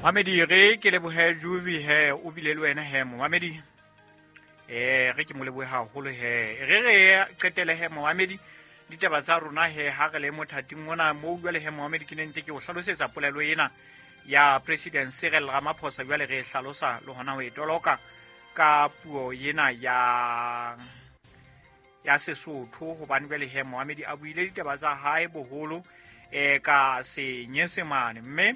Mamedi, re ke lebohe Juvi he, o bile le wena he momamedi. Re ke mo lebohe haholo he. Re qetele he momamedi ditaba tsa rona he ha re le mothating ona moo jwale he momamedi ke ne ntse ke o hlalosetsa polelo ena ya President Cyril Ramaphosa, jwale re e hlalosa le hona ho e toloka ka puo ena ya Sesotho, hobane jwale he momamedi a buile ditaba tsa hae boholo ka Senyesemane. Mme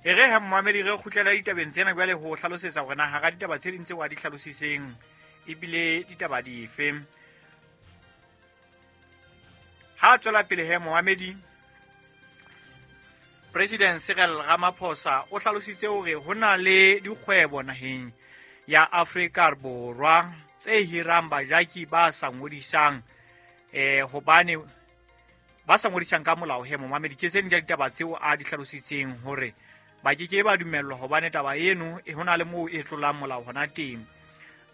e re he momamedi re kgutlela ditabeng tsena jwale ho hlalosetsa hore na hara ditaba tse ding tseo a di hlalositseng ebile ditaba dife. Ha tswela pele he momamedi, President Cyril Ramaphosa o hlalositse hore ho na le dikgwebo naheng ya Afrika Borwa tse hirang bajaki ba sa ngodisang, hobane ba sa ngodisang ka molao he momamedi. Ke tse ding tsa ditaba tseo a di hlalositseng hore ba ke ke ba dumellwa hobane taba eno e hona le moo e tlolang molao hona teng.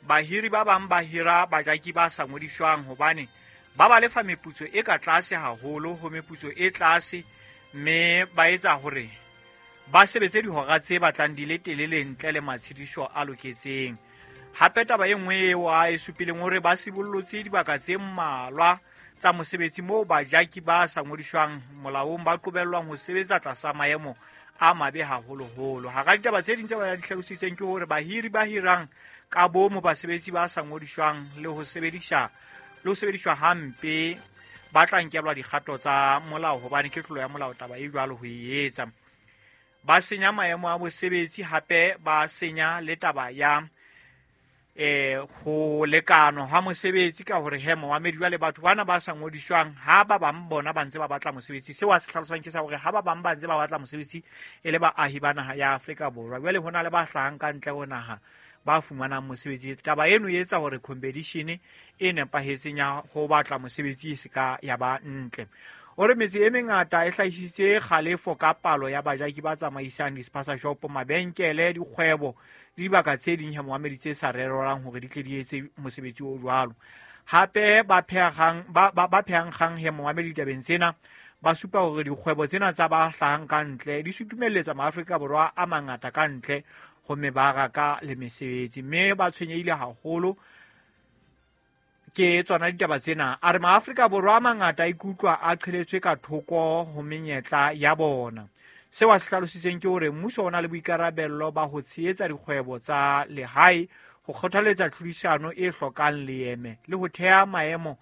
Bahiri ba bang ba hira bajaki ba sa ngodiswang hobane ba ba lefa meputso e ka tlase haholo ho meputso e tlase, mme ba etsa hore ba sebetse dihora tse batlang di le telele ntle le matshediso a loketseng. Hape taba e nngwe eo a e supileng hore ba sibollotse dibaka tse mmalwa tsa mosebetsi moo bajaki ba sa ngodiswang molaong ba qobellwang ho sebetsa tlasa maemo a mabe haholoholo. Hara ditaba tse ding tse ba di hlalositseng ke hore bahiri ba hirang ka bomo basebetsi ba sa ngodiswang le ho sebediswa hampe ba tla nkelwa dikgato tsa molao hobane ke tlolo ya molao taba e jwalo ho e etsa. Ba senya maemo a mosebetsi, hape ba senya le taba ya ho lekanwa hwa mosebetsi ka hore he momamedi jwale batho bana ba sa ngodiswang ha ba bang bona ba ntse ba batla mosebetsi. Seo a se hlalosang ke sa hore ha ba bang ba ntse ba batla mosebetsi e le baahi ba naha ya Afrika Borwa, jwale ho na le ba hlahang ka ntle ho naha ba fumanang mosebetsi. Taba eno e etsa hore competition e nepahetseng ya ho batla mosebetsi e se ka ya ba ntle. O re metse e mengata e hlahisitse kgalefo ka palo ya bajaki ba tsamaisang di-spaza shop, mabenkele, dikgwebo le dibaka tse ding he momamedi tse sa rerwang hore di tle di etse mosebetsi o jwalo. Hape ba phehang kgang he momamedi ditabeng tsena ba supa hore dikgwebo tsena tsa ba hlahang ka ntle di sutumelletsa Maafrika Borwa a mangata ka ntle ho mebaraka le mesebetsi, mme ba tshwenyehile haholo ke tsona ditaba tsena. A re Maafrika Borwa a mangata a ikutlwa a qheletswe ka thoko ho menyetla ya bona. Seo a se hlalositseng ke hore mmuso o na le boikarabello ba ho tshehetsa dikgwebo tsa lehae, ho kgothaletsa tlhodisano e hlokang leeme le ho theha maemo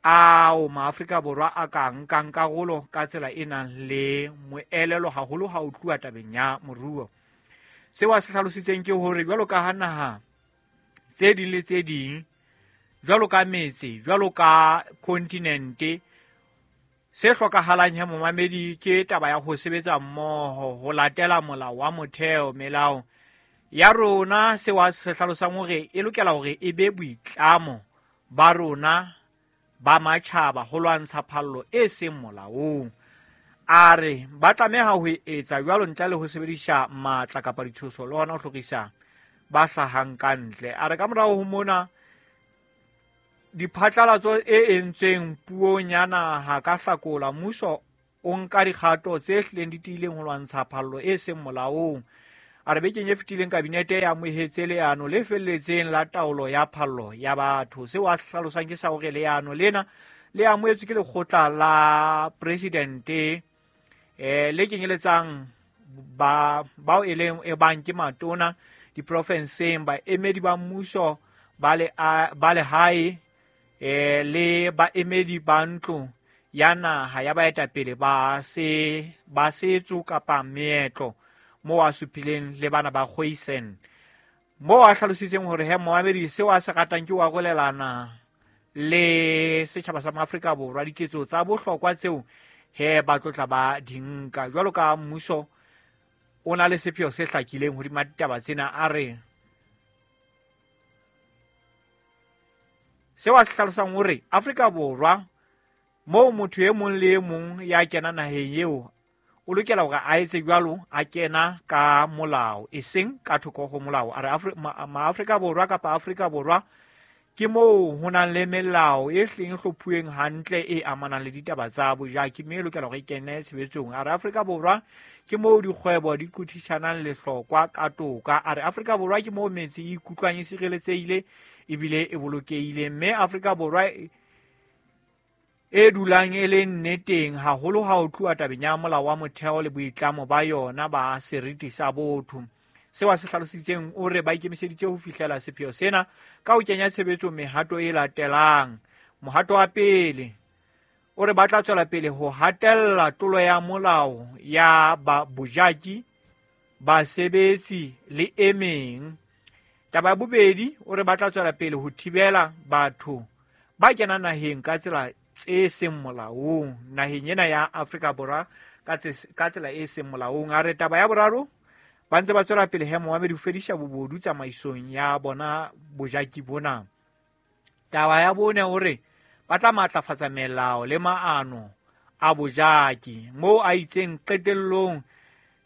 ao Maafrika Borwa a ka nkang karolo ka tsela e nang le moelelo haholo ha ho tluwa tabeng ya moruo. Seo a se hlalositseng ke hore jwalo ka ha naha tse ding le tse ding, jwalo ka metse, jwalo ka kontinente, se hlokahalang he momamedi ke taba ya ho sebetsa mmoho, ho latela molao wa motheo, melao ya rona. Seo a se hlalosang hore e lokela hore e be boitlamo ba rona ba matjhaba ho lwantsha phallo e seng molaong. A re ba tlameha ho etsa jwalo ntle le ho sebedisa matla kapa ditshoso le hona ho hlorisa ba hlahang ka ntle. A re ka morao ho mona diphatlalatso e entsweng puong ya naha ka Hlakola, mmuso o nka dikgato tse hlileng di tiileng ho lwantsha phallo e seng molaong. A re bekeng e fetileng kabinete e amohetse leano le felletseng la taolo ya phallo ya batho. Seo a se hlalosang ke sa hore leano lena le amohetswe ke lekgotla la presidente le kenyeletsang bao e leng e bang ke matona diprofenseng, baemedi ba mmuso ba lehae le baemedi ba ntlo ya naha ya baetapele ba setso kapa meetlo, moo a supileng le bana ba Khoisan, moo a hlalositseng hore he momamedi seo a se ratang ke ho arolelana le setjhaba sa Maafrika Borwa diketso tsa bohlokwa tseo he ba tlotla ba di nka. Jwalo ka mmuso o na le sepheo se hlakileng hodima ditaba tsena, a re seo a se hlalosang hore Afrika Borwa moo motho e mong le e mong ya kena naheng eo o lokela hore a etse jwalo, a kena ka molao, eseng ka thoko ho molao. A re Maafrika Borwa kapa Afrika Borwa ke moo ho nang le melao e hleng e hlophuweng hantle e amanang le ditaba tsa bojaki, mme e lokela hore e kene tshebetsong. A re Afrika Borwa ke moo dikgwebo di qothisanang lehlokwa ka toka. A re Afrika Borwa ke moo metse e ikutlwang e sireletsehile ebile e bolokehile, mme Afrika Borwa e dulang e le nneteng haholo ha ho tluwa tabeng ya molao wa motheo le boitlamo ba yona ba seriti sa botho. Seo a se hlalositseng o re ba ikemiseditse ho fihlela sepheo sena ka ho kenya tshebetsong mehato e latelang. Mohato wa pele o re ba tla tswela pele ho hatella tlolo ya molao ya ba bojaki, basebetsi le e meng. Taba ya bobedi o re ba tla tswela pele ho thibela batho ba kenang naheng ka tsela tse seng molaong, naheng ena ya Afrika Borwa ka tsela e seng molaong. A re taba ya boraro ba ntse ba tswela pele he moamedi ho fedisa bobodu tsamaisong ya bona bojaki bona. Taba ya bone o re ba tla matlafatsa melao le maano a bojaki, moo a itseng qetellong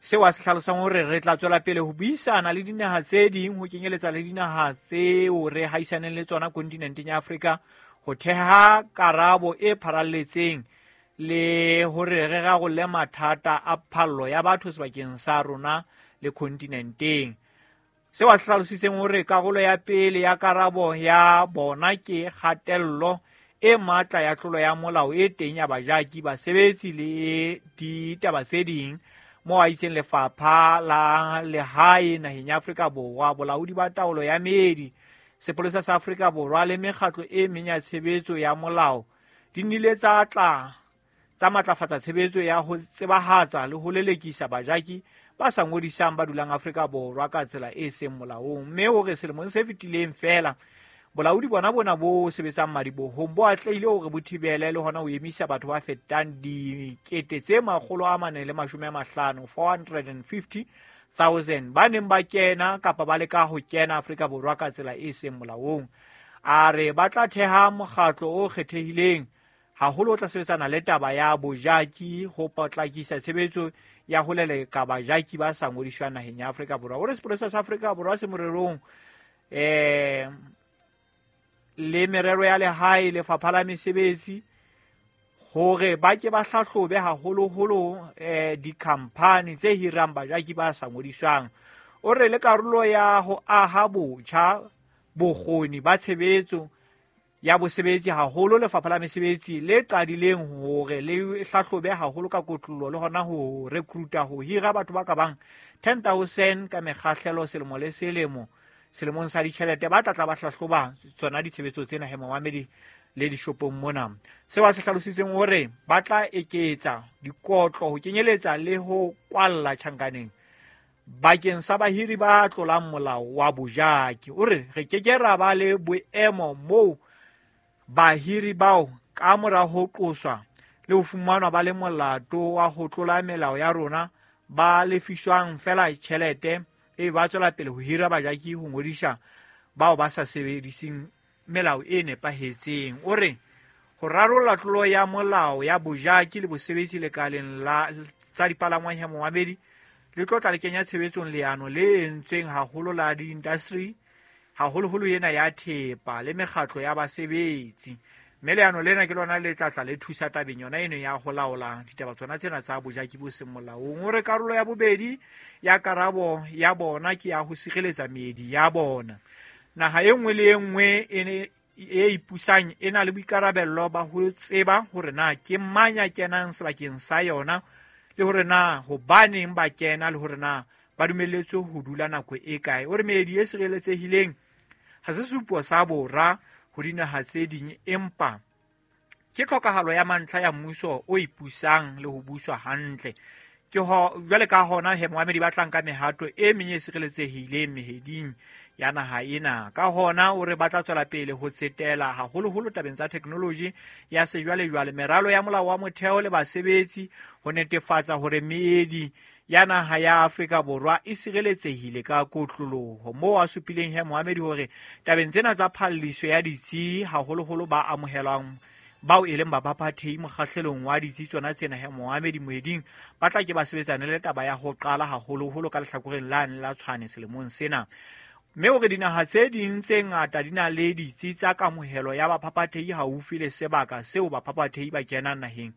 seo a se hlalosang hore re tla tswela pele ho buisana le dinaha tse ding, ho kenyeletsa le dinaha tseo re haisaneng le tsona kontinenteng ya Afrika, ho theha karabo e pharalletseng le hore re rarolle mathata a phallo ya batho sebakeng sa rona le kontinenteng. Seo a se hlalositseng hore karolo ya pele ya karabo ya bona ke kgatello e matla ya tlolo ya molao e teng ya bajaki, basebetsi le ditaba tse ding, moo a itseng lefapha la lehae naheng ya Afrika Borwa, bolaodi ba taolo ya meedi, sepolesa sa Afrika Borwa le mekgatlo e meng ya tshebetso ya molao di nnile tsa tla tsa matlafatsa tshebetso ya ho tsebahatsa le ho lelekisa bajaki ba sa ngodisang ba dulang Afrika Borwa ka tsela e seng molaong. Mme hore selemong se fetileng feela bolaodi bona bona bo sebetsang madibohong bo atlehile hore bo thibele le hona ho emisa batho ba fetang 450,000 450,000 ba neng ba kena kapa ba leka ho kena Afrika Borwa ka tsela e seng molaong. A re ba tla theha mokgatlo o kgethehileng haholo o tla sebetsana le taba ya bojaki ho potlakisa tshebetso ya ho leleka bajaki ba sa ngodiswang naheng ya Afrika Borwa. O re sepolesa sa Afrika Borwa se morerong le merero ya lehae, lefapha la mesebetsi, hore ba ke ba hlahlobe haholoholo dikhamphani tse hirang bajaki ba sa ngodiswang. O re le karolo ya ho aha botjha bokgoni ba tshebetso ya bosebetsi haholo lefapha la mesebetsi le qadileng hore le hlahlobe haholo ka kotlollo le hona ho recruita ho hira batho ba ka bang 10,000 ka mekgahlelo selemo le selemo selemong sa ditjhelete ba tla tla ba hlahloba tsona ditshebetso tsena he momamedi le dishopong mona. Seo a se hlalositseng hore ba tla eketsa dikotlo ho kenyeletsa le ho kwalla tjhankaneng bakeng sa bahiri ba tlolang molao wa bojaki. O re re ke ke ra ba le boemo moo bahiri bao ka mora ho qoswa le ho fumanwa ba le molato wa ho tlola melao ya rona ba lefiswang fela tjhelete e ba tswela pele ho hira bajaki ho ngodisa bao ba sa sebediseng melao e nepahetseng. O re ho rarolla tlolo ya molao ya bojaki le bosebetsi lekaleng la tsa dipalangwang ya momamedi le tlo tla le kenya tshebetsong leano le entsweng haholo la di-industry haholoholo ena ya thepa le mekgatlo ya basebetsi, mme leano lena ke lona le tla tla le thusa tabeng yona eno ya ho laola ditaba tsona tsena tsa bojaki bo seng molaong. O re karolo ya bobedi ya karabo ya bona ke ya ho sireletsa meedi ya bona. Naha e nngwe le e nngwe e ipusang e na le boikarabello ba ho tseba hore na ke mang ya kenang sebakeng sa yona le hore na hobaneng ba kena le hore na ba dumelletswe ho dula nako e kae. O re meedi e sireletsehileng ha se supo sa bora ho dinaha tse ding, empa ke tlhokahalo ya mantlha ya mmuso o ipusang le ho buswa hantle. Ke ho jwale ka hona he moamedi ba tlang ka mehato e meng e sireletsehileng meheding ya naha ena. Ka hona o re ba tla tswela pele ho tsetela haholoholo tabeng tsa technology ya sejwalejwale, meralo ya molao wa motheo le basebetsi ho netefatsa hore meedi ya naha ya Afrika Borwa e sireletsehile ka kotloloho. Moo a supileng he moamedi hore tabeng tsena tsa phalliso ya ditsi haholoholo ba amohelwang bao e leng baphaphathehi mokgahlelong wa ditsi tsona tsena he moamedi moeding ba tla ke ba sebetsane le taba ya ho qala haholoholo ka lehlakoreng lane la Tshwane selemong sena. Mme hore dinaha tse ding tse ngata di na le ditsi tsa kamohelo ya baphaphathehi haufi le sebaka seo baphaphathehi ba kenang naheng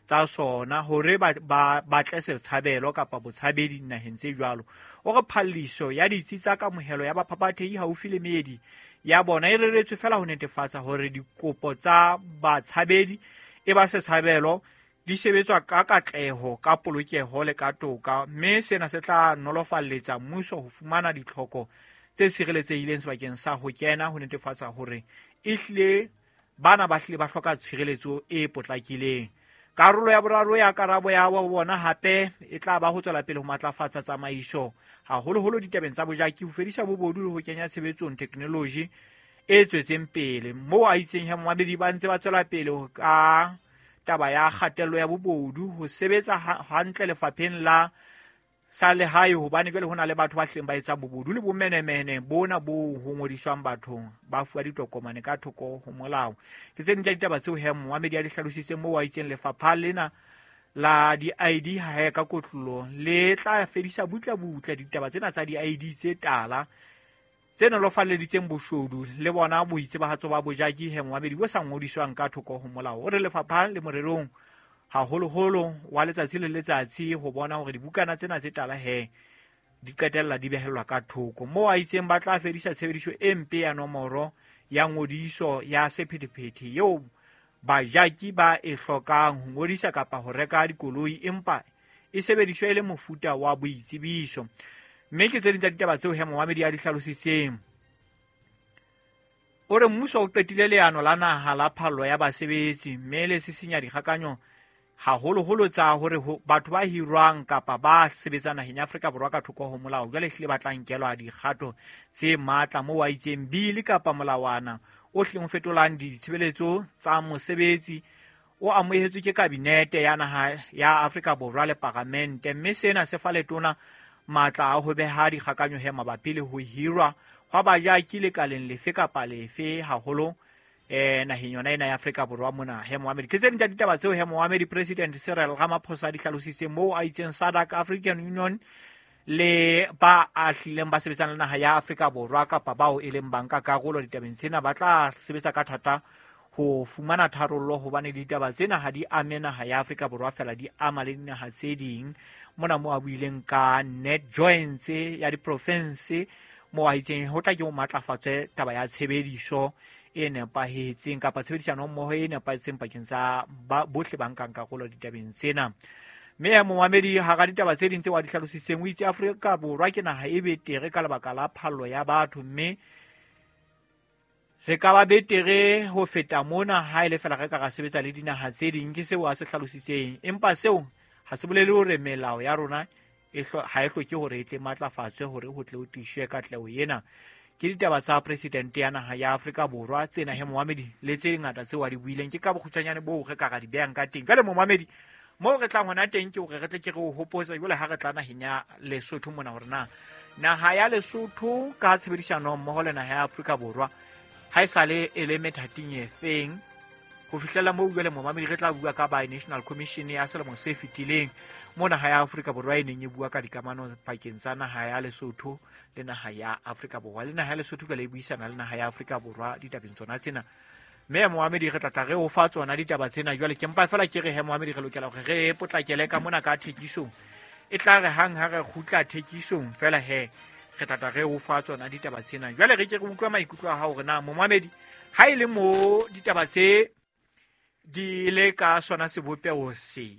tsa sona hore ba batle setshabelo kapa botshabedi dinaheng tse jwalo. O re phalliso ya ditsi tsa kamohelo ya baphaphathehi haufi le meedi ya bona e reretswe fela ho netefatsa hore dikopo tsa batshabedi e ba setshabelo di sebetswa ka katleho, ka polokeho le ka toka, mme sena se tla nolofalletsa mmuso ho fumana ditlhoko tse sireletsehileng sebakeng sa ho kena ho netefatsa hore ehlile bana ba hlile ba hloka tshireletso e potlakileng. Karolo ya boraro ya karabo ya bona hape e tla ba ho tswela pele ho matlafatsa tsamaiso, haholoholo ditabeng tsa bojaki, ho fedisa bobodu le ho kenya tshebetsong theknoloji e tswetseng pele. Moo a itseng he momamedi ba ntse ba tswela pele ka taba ya kgatello ya bobodu, ho sebetsa hantle lefapheng la sa lehae, hobane jwale ho na le batho ba hlileng ba etsa bobodu le bomenemene bona bo ho ngodiswang bathong ba fuwa ditokomane ka thoko ho molao. Ke tse ding tsa ditaba tseo he momamedi a di hlalositseng moo a itseng lefapha lena la di-ID ha ka kotlolo le tla fedisa butle-butle ditaba tsena tsa di-ID tse tala tse nolofalleditseng boshodu le bona boitsebahatso ba bojaki he momamedi bo sa ngodiswang ka thoko ho molao. O re lefapha le morerong haholoholo wa letsatsi le letsatsi ho bona hore dibukana tsena tse tala he di qetella di behellwa ka thoko. Moo a itseng ba tla fedisa tshebediso e mpe ya nomoro ya ngodiso ya sephethephethe eo bajaki ba e hlokang ho ngodisa kapa ho reka dikoloi, empa e sebediswa e le mofuta wa boitsebiso. Mme ke tse ding tsa ditaba tseo he momamedi a di hlalositseng. O re mmuso o qetile leano la naha la phallo ya basebetsi, mme le sisinya dikgakanyo haholoholo tsa hore batho ba hirwang kapa ba sebetsang naheng ya Afrika Borwa ka thoko ho molao jwale hlile ba tla nkelwa dikgato tse matla. Moo a itseng bili kapa molawana o hlileng o fetolang ditshebeletso tsa mosebetsi o amohetswe ke kabinete ya naha ya Afrika Borwa le paramente, mme sena se fa letona matla a ho beha dikgakanyo he mabapi le ho hirwa hwa bajaki lekaleng lefe kapa lefe, haholo naheng yona ena ya Afrika Borwa mona he momamedi. Ke tse ding tsa ditaba tseo he momamedi President Cyril Ramaphosa di hlalositseng moo a itseng SADC, African Union le ba a hlileng ba sebetsang le naha ya Afrika Borwa kapa bao e leng banka karolo ditabeng tsena ba tla sebetsa ka thata ho fumana tharollo, hobane ditaba tsena ha di ame naha ya Afrika Borwa fela, di ama le dinaha tse ding. Mona moo a buileng ka net joints ya diprofinse, moo a itseng ho tla ke ho matlafatswe taba ya tshebediso e nepahetseng kapa tshebedisano mmoho e nepahetseng pakeng tsa bohle ba nkang karolo ditabeng tsena. Mme ya momamedi hara ditaba tse ding tseo a di hlalositseng, o itse Afrika Borwa ke naha e betere ka lebaka la phallo ya batho, mme re ka ba betere ho feta mona ha e le fela re ka ra sebetsa le dinaha tse ding. Ke seo a se hlalositseng, empa seo ha se bolele hore melao ya rona ha e hloke hore e tle matlafatswe hore ho tle ho tiiswe katleho ena. Ke ditaba tsa presidente ya naha ya Afrika Borwa tsena he momamedi, le tse ngata tseo a di buileng. Ke ka bokgutshwanyane boo re ka ra di behang ka teng. Jwale momamedi, moo re tlang hona teng ke hore re tle ke re o hopotse jwale ha re tla naheng ya Lesotho mona hore na naha ya Lesotho ka tshebedisano mmoho le naha ya Afrika Borwa ha e sale e le methating e feng ho fihlela moo. Jwale momamedi re tla bua ka Bi-National Commission ya selemo se fetileng mo naha ya Afrika Borwa e neng e bua ka dikamano pakeng tsa naha ya Lesotho le naha ya Afrika Borwa, le naha ya Lesotho jwale e buisana le naha ya Afrika Borwa ditabeng tsona tsena. Mme momamedi re tla tla re o fa tsona ditaba tsena. Jwale ke mpa fela ke re he momamedi re lokela hore re potlakele ka mona ka thekisong, e tla re hang ha re kgutla thekisong fela he re tla tla re o fa tsona ditaba tsena. Jwale re ke re utlwa maikutlo a hao hore na momamedi ha e le mo ditaba tse di le ka sona sebopeho se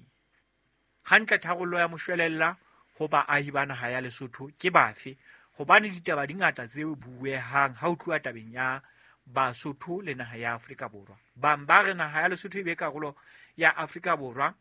hantle, tharollo ya moshwelella ho baahi ba naha ya Lesotho ke bafe? Hobane ditaba di ngata tse buehang ha ho tluwa tabeng ya Basotho le naha ya Afrika Borwa. Bang ba re naha ya Lesotho e be karolo ya Afrika Borwa,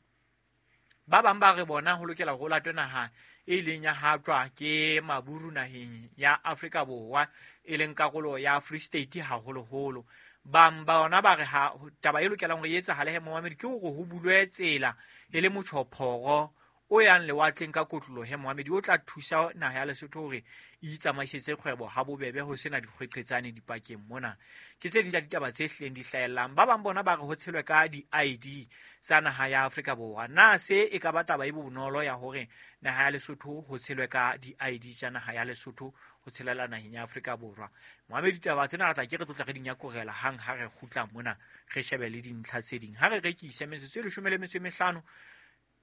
ba bang ba re bona ho lokela ho latwe naha e ileng ya hatjwa ke maburu naheng ya Afrika Borwa, e leng karolo ya Free State haholoholo. Bang ba bona ba re ha taba e lokelang hore e etsahale he momamedi ke hore ho bulwe tsela e le motjhophoro o yang lewatleng ka kotloloho he moamedi o tla thusa naha ya Lesotho hore e itsamaisetse kgwebo ha bobebe ho sena dikgweqetsane dipakeng mona. Ke tse ding tsa ditaba tse hlileng di hlahellang. Ba bang bona ba re ho tshelwe ka di-ID tsa naha ya Afrika Borwa. Na se e ka ba taba e bonolo ya hore naha ya Lesotho ho tshelwe ka di-ID tsa naha ya Lesotho ho tshelela naheng ya Afrika Borwa? Moamedi, ditaba tsena re tla ke re tlotla re di nyakorela hang ha re kgutla mona, re shebe le dintlha tse ding. Ha re rekise metsotso e 15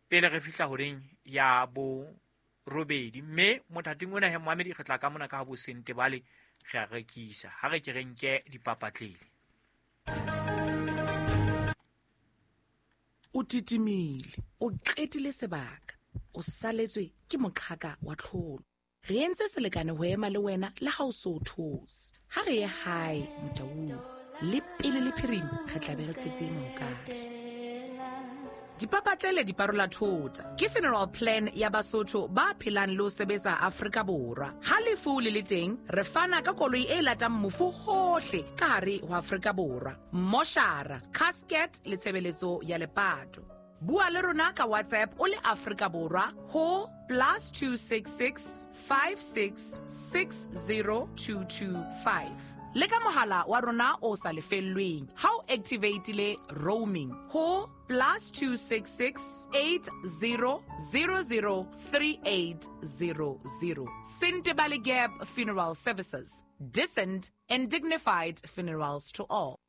pele re fihla horeng ya bo robedi, mme mothating ona he moamedi re tla ka mona ka ha bo Sentebale re a rekisa. Ha re ke re nke dipapatlele. O titimile, o qetile sebaka, o saletswe ke moqhaka wa tlholo. Re entse selekane ho ema le wena le ha o so o those. Ha re ye hae Motaung, le pele le phirima re tla be re tshetse mohokare. Dipapatlele di parola thota ke funeral plan ya Basotho ba phelang le ho sebetsa Afrika Borwa. Ha lefu le le teng, re fana ka koloi e latang mofu hohle ka hare ho Afrika Borwa, moshara, casket le tshebeletso ya lepato. Bua le rona ka WhatsApp o le Afrika Borwa ho +266 56 60225. Le ka mohala wa rona o sa lefellweng ha o activatile roaming ho +266 80 00 3800. Sentebale Gap Funeral Services, decent and dignified funerals to all.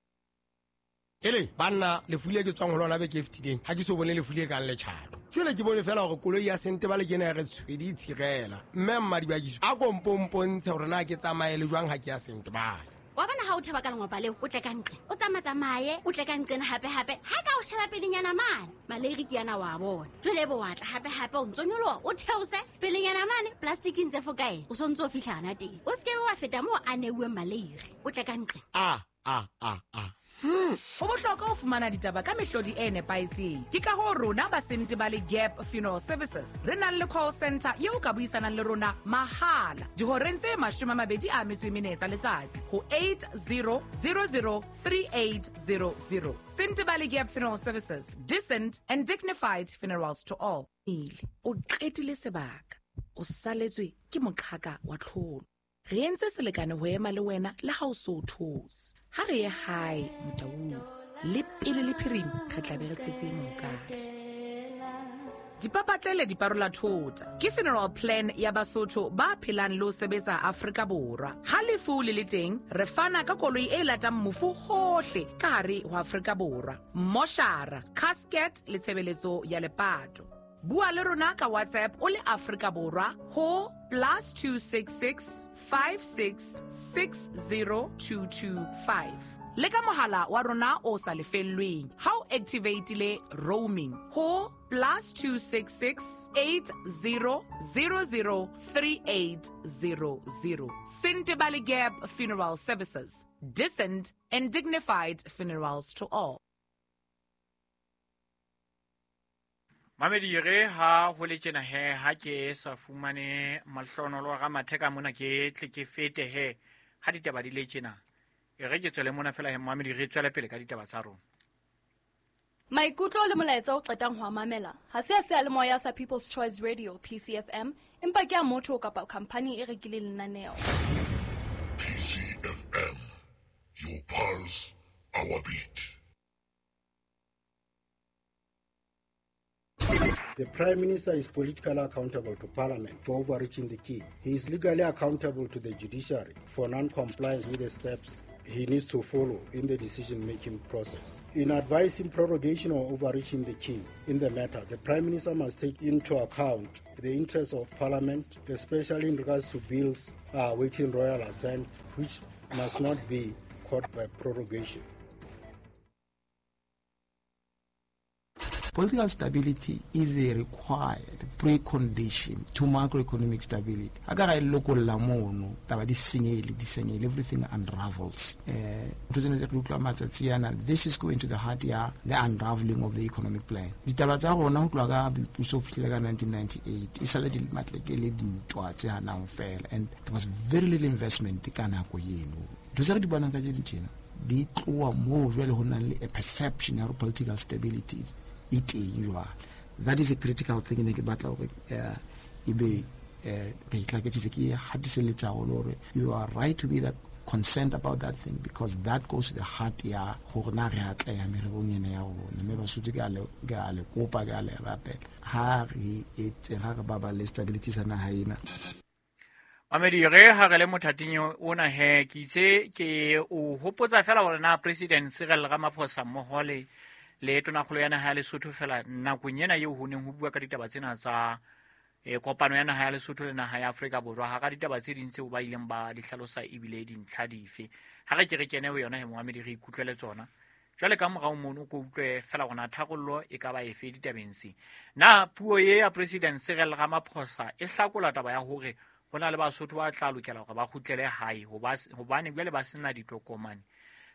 Ele banna, lefu le ke tswang ho lona beke e fetileng, ha ke so bone lefu le kang letjhato. Jwale ke bone fela hore koloi ya Sentebale ke ena ya re tshwedi e tshirela. Mme Mmadibakiso a ko mpompontshe hore na ke tsamaye le jwang ha ke ya Sentebale. Wa bona ha o thaba ka lengwapa leo, o tle ka nqe, o tsamatsamaye, o tle ka nqena hape-hape. Ha ka o sheba pelenyana mane, maleiri ke yana wa bona. Jwale ebe wa tla hape-hape, o ntso nyoloha, o theose pelenyana mane, plastic e ntse fokaela, o sontso o fihla hana teng. O se ke wa feta moo a neuweng maleiri, o tle ka nqe. A, a, a, a. Ho bohlokwa ho fumana ditaba ka mehlodi e nepahetseng. Ke ka hoo rona ba Sentebale Gap Funeral Services re nang le call center eo ka buisanang le rona mahala dihoreng tse 24 tsa letsatsi ho 8000 3800. Sentebale Gap Funeral Services, decent and dignified funerals to all. O qetile sebaka, o saletswe ke moqhaka wa tlholo. Re entse selekane ho ema le wena le ha o so o those. Ha re ye hae Motaung, le pele le phirima re tla be re tshetse mohokare. Dipapatlele di parola thota ke funeral plan ya Basotho ba phelang le ho sebetsa Afrika Borwa. Ha lefu le le teng, re fana ka koloi e latang mofu hohle ka hare ho Afrika Borwa, moshara, casket le tshebeletso ya lepato. Bua le rona ka WhatsApp o le Afrika Borwa ho +266 56 60225. Le ka mohala wa rona o sa lefellweng ha o activatile roaming ho +266 80 00 3800. Sentebale Gap Funeral Services, decent and dignified funerals to all. Mamedi, re ha ho le tjena he, ha ke sa fumane mahlonolo ga matheka mona, ke tle ke fete he ha ditaba di le tjena. E re ke tswele mona fela he Mamedi, re tswele pele ka ditaba tsa rona. Maikutlo le molaetsa o qetang ho a mamela ha se a seyalemoya sa People's Choice Radio PCFM, empa ke a motho kapa khampani e rekileng lenaneo. PCFM, your pulse, our beat. The Prime Minister is politically accountable to Parliament for overreaching the king. He is legally accountable to the judiciary for non-compliance with the steps he needs to follow in the decision-making process. In advising prorogation or overreaching the king in the matter, the Prime Minister must take into account the interests of Parliament, especially in regards to bills awaiting royal assent, which must not be caught by prorogation. Political stability is a required precondition to macroeconomic stability. Akara lokolla mono taba di senyehile, everything unravels. This is going to the heart ya the unraveling of the economic plan. Ditaba tsa rona ho tloha ka boipuso ho fihlela ka 1998 e sale di matleke le dintwa tse hanang fela, and there was very little investment ka nako eno. Ntho tse re di bonang ka tjena di tloha moo jwale ho nang le a perception ya political stability e teng jwale. That is a critical thing ne ke batla hore ebe re itlaketsitse ke hatiseletsa haholo hore you are right to be that concerned about that thing, because that goes to the heart ya hore na re atleha mererong ena ya rona. Mme Basotho ke a le kopa, ke a le rapela, ha re etse ha re baballe stability sa naha ena. Mamedi, re ha re le mothating ona he, ke itse ke o hopotsa fela hore na President Cyril Ramaphosa mmoho le tonakgolo ya naha ya Lesotho fela nakong ena eo ho neng ho bua ka ditaba tsena tsa kopano ya naha ya Lesotho le naha ya Afrika Borwa, hara ditaba tse ding tseo ba ileng ba di hlalosa ebile dintlha dife. Ha re ke re kene ho yona he momamedi, re ikutlwele tsona. Jwale ka morao mono ko utlwe fela hore na tharollo e ka ba efe ditabeng tse. Na puo e ya President Cyril Ramaphosa e hlakola taba ya hore ho na le Basotho ba tla lokela hore ba kgutlele hae hobane jwale ba sena ditokomane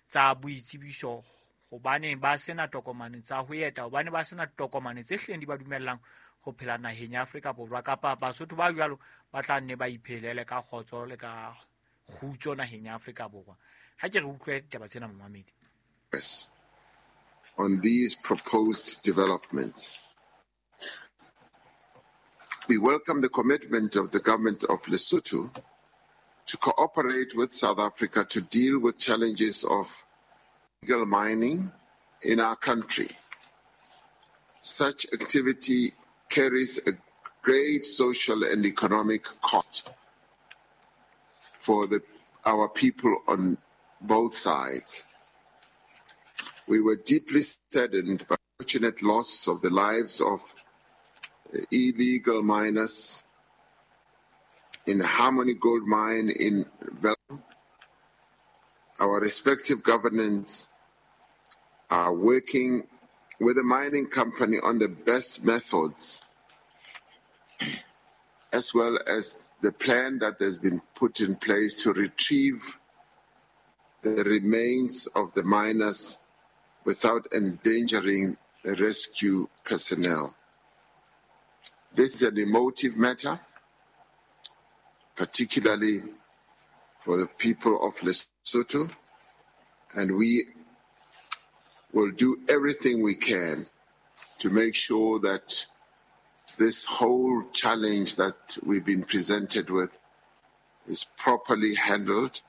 tsa boitsebiso, hobane ba sena tokomane tsa ho eta, hobane ba sena tokomane tse hlileng di ba dumellang ho phela naheng ya Afrika Borwa, kapa Basotho ba jwalo ba tla nne ba iphelele ka kgotso le ka kgutso naheng ya Afrika Borwa. Ha ke re utlwe ditaba tsena momamedi. On these proposed developments, we welcome the commitment of the government of Lesotho to cooperate with South Africa to deal with challenges of illegal mining in our country. Such activity carries a great social and economic cost for our people on both sides. We were deeply saddened by the unfortunate loss of the lives of illegal miners in Harmony Gold Mine in Vellum. Our respective governments are working with the mining company on the best methods, as well as the plan that has been put in place to retrieve the remains of the miners without endangering the rescue personnel. This is an emotive matter, particularly for the people of Lesotho, and we will do everything we can to make sure that this whole challenge that we've been presented with is properly handled.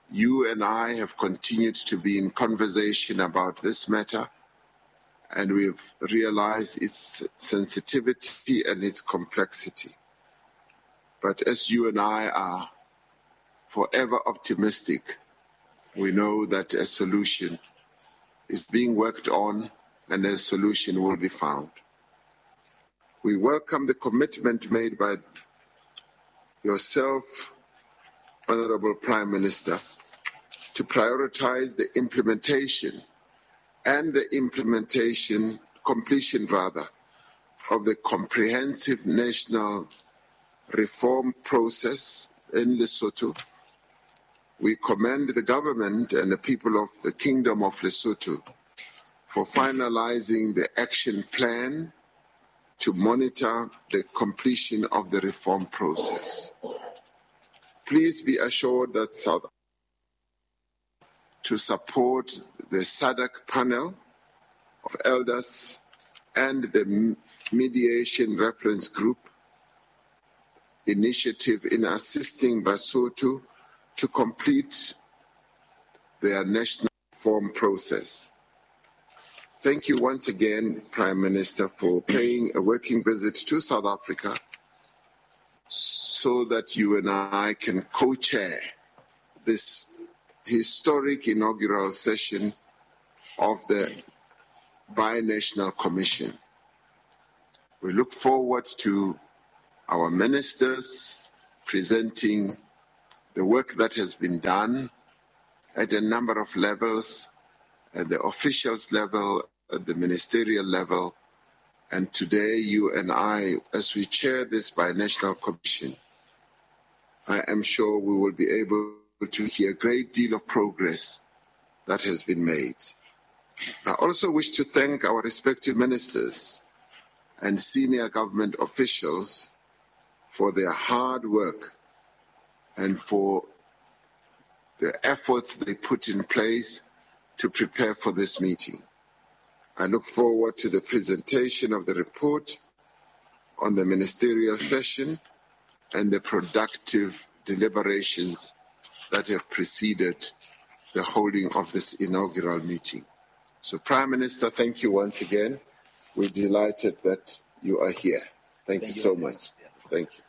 You and I have continued to be in conversation about this matter, and we've realized its sensitivity and its complexity. But as you and I are forever optimistic, we know that a solution is being worked on and a solution will be found. We welcome the commitment made by yourself, Honorable Prime Minister, to prioritize the implementation and the completion of the comprehensive national reform process in Lesotho. We commend the government and the people of the Kingdom of Lesotho for finalizing the action plan to monitor the completion of the reform process. Please be assured that South to support the SADC panel of elders and the mediation reference group initiative in assisting Basotho to complete their national reform process. Thank you once again, Prime Minister, for paying a working visit to South Africa so that you and I can co-chair this historic inaugural session of the Binational Commission. We look forward to our ministers presenting the work that has been done at a number of levels, at the officials level, at the ministerial level, and today you and I, as we chair this Binational Commission, I am sure we will be able to hear a great deal of progress that has been made. I also wish to thank our respective ministers and senior government officials for their hard work and for the efforts they put in place to prepare for this meeting. I look forward to the presentation of the report on the ministerial session and the productive deliberations that have preceded the holding of this inaugural meeting. So, Prime Minister, thank you once again. We're delighted that you are here. Thank you so much. Thank you.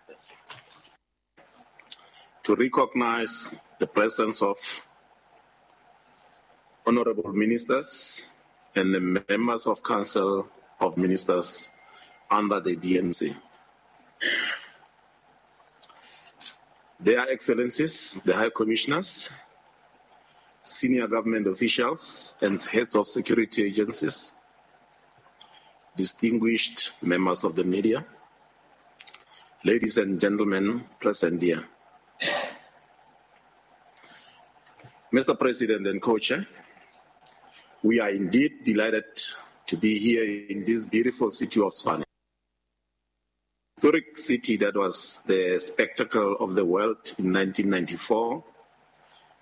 To recognize the presence of honorable ministers and the members of Council of Ministers under the BNC. Their Excellencies, the High Commissioners, senior government officials and heads of security agencies, distinguished members of the media, ladies and gentlemen present here. Mr. President and Co-Chair, we are indeed delighted to be here in this beautiful city of Tshwane. Historic city that was the spectacle of the world in 1994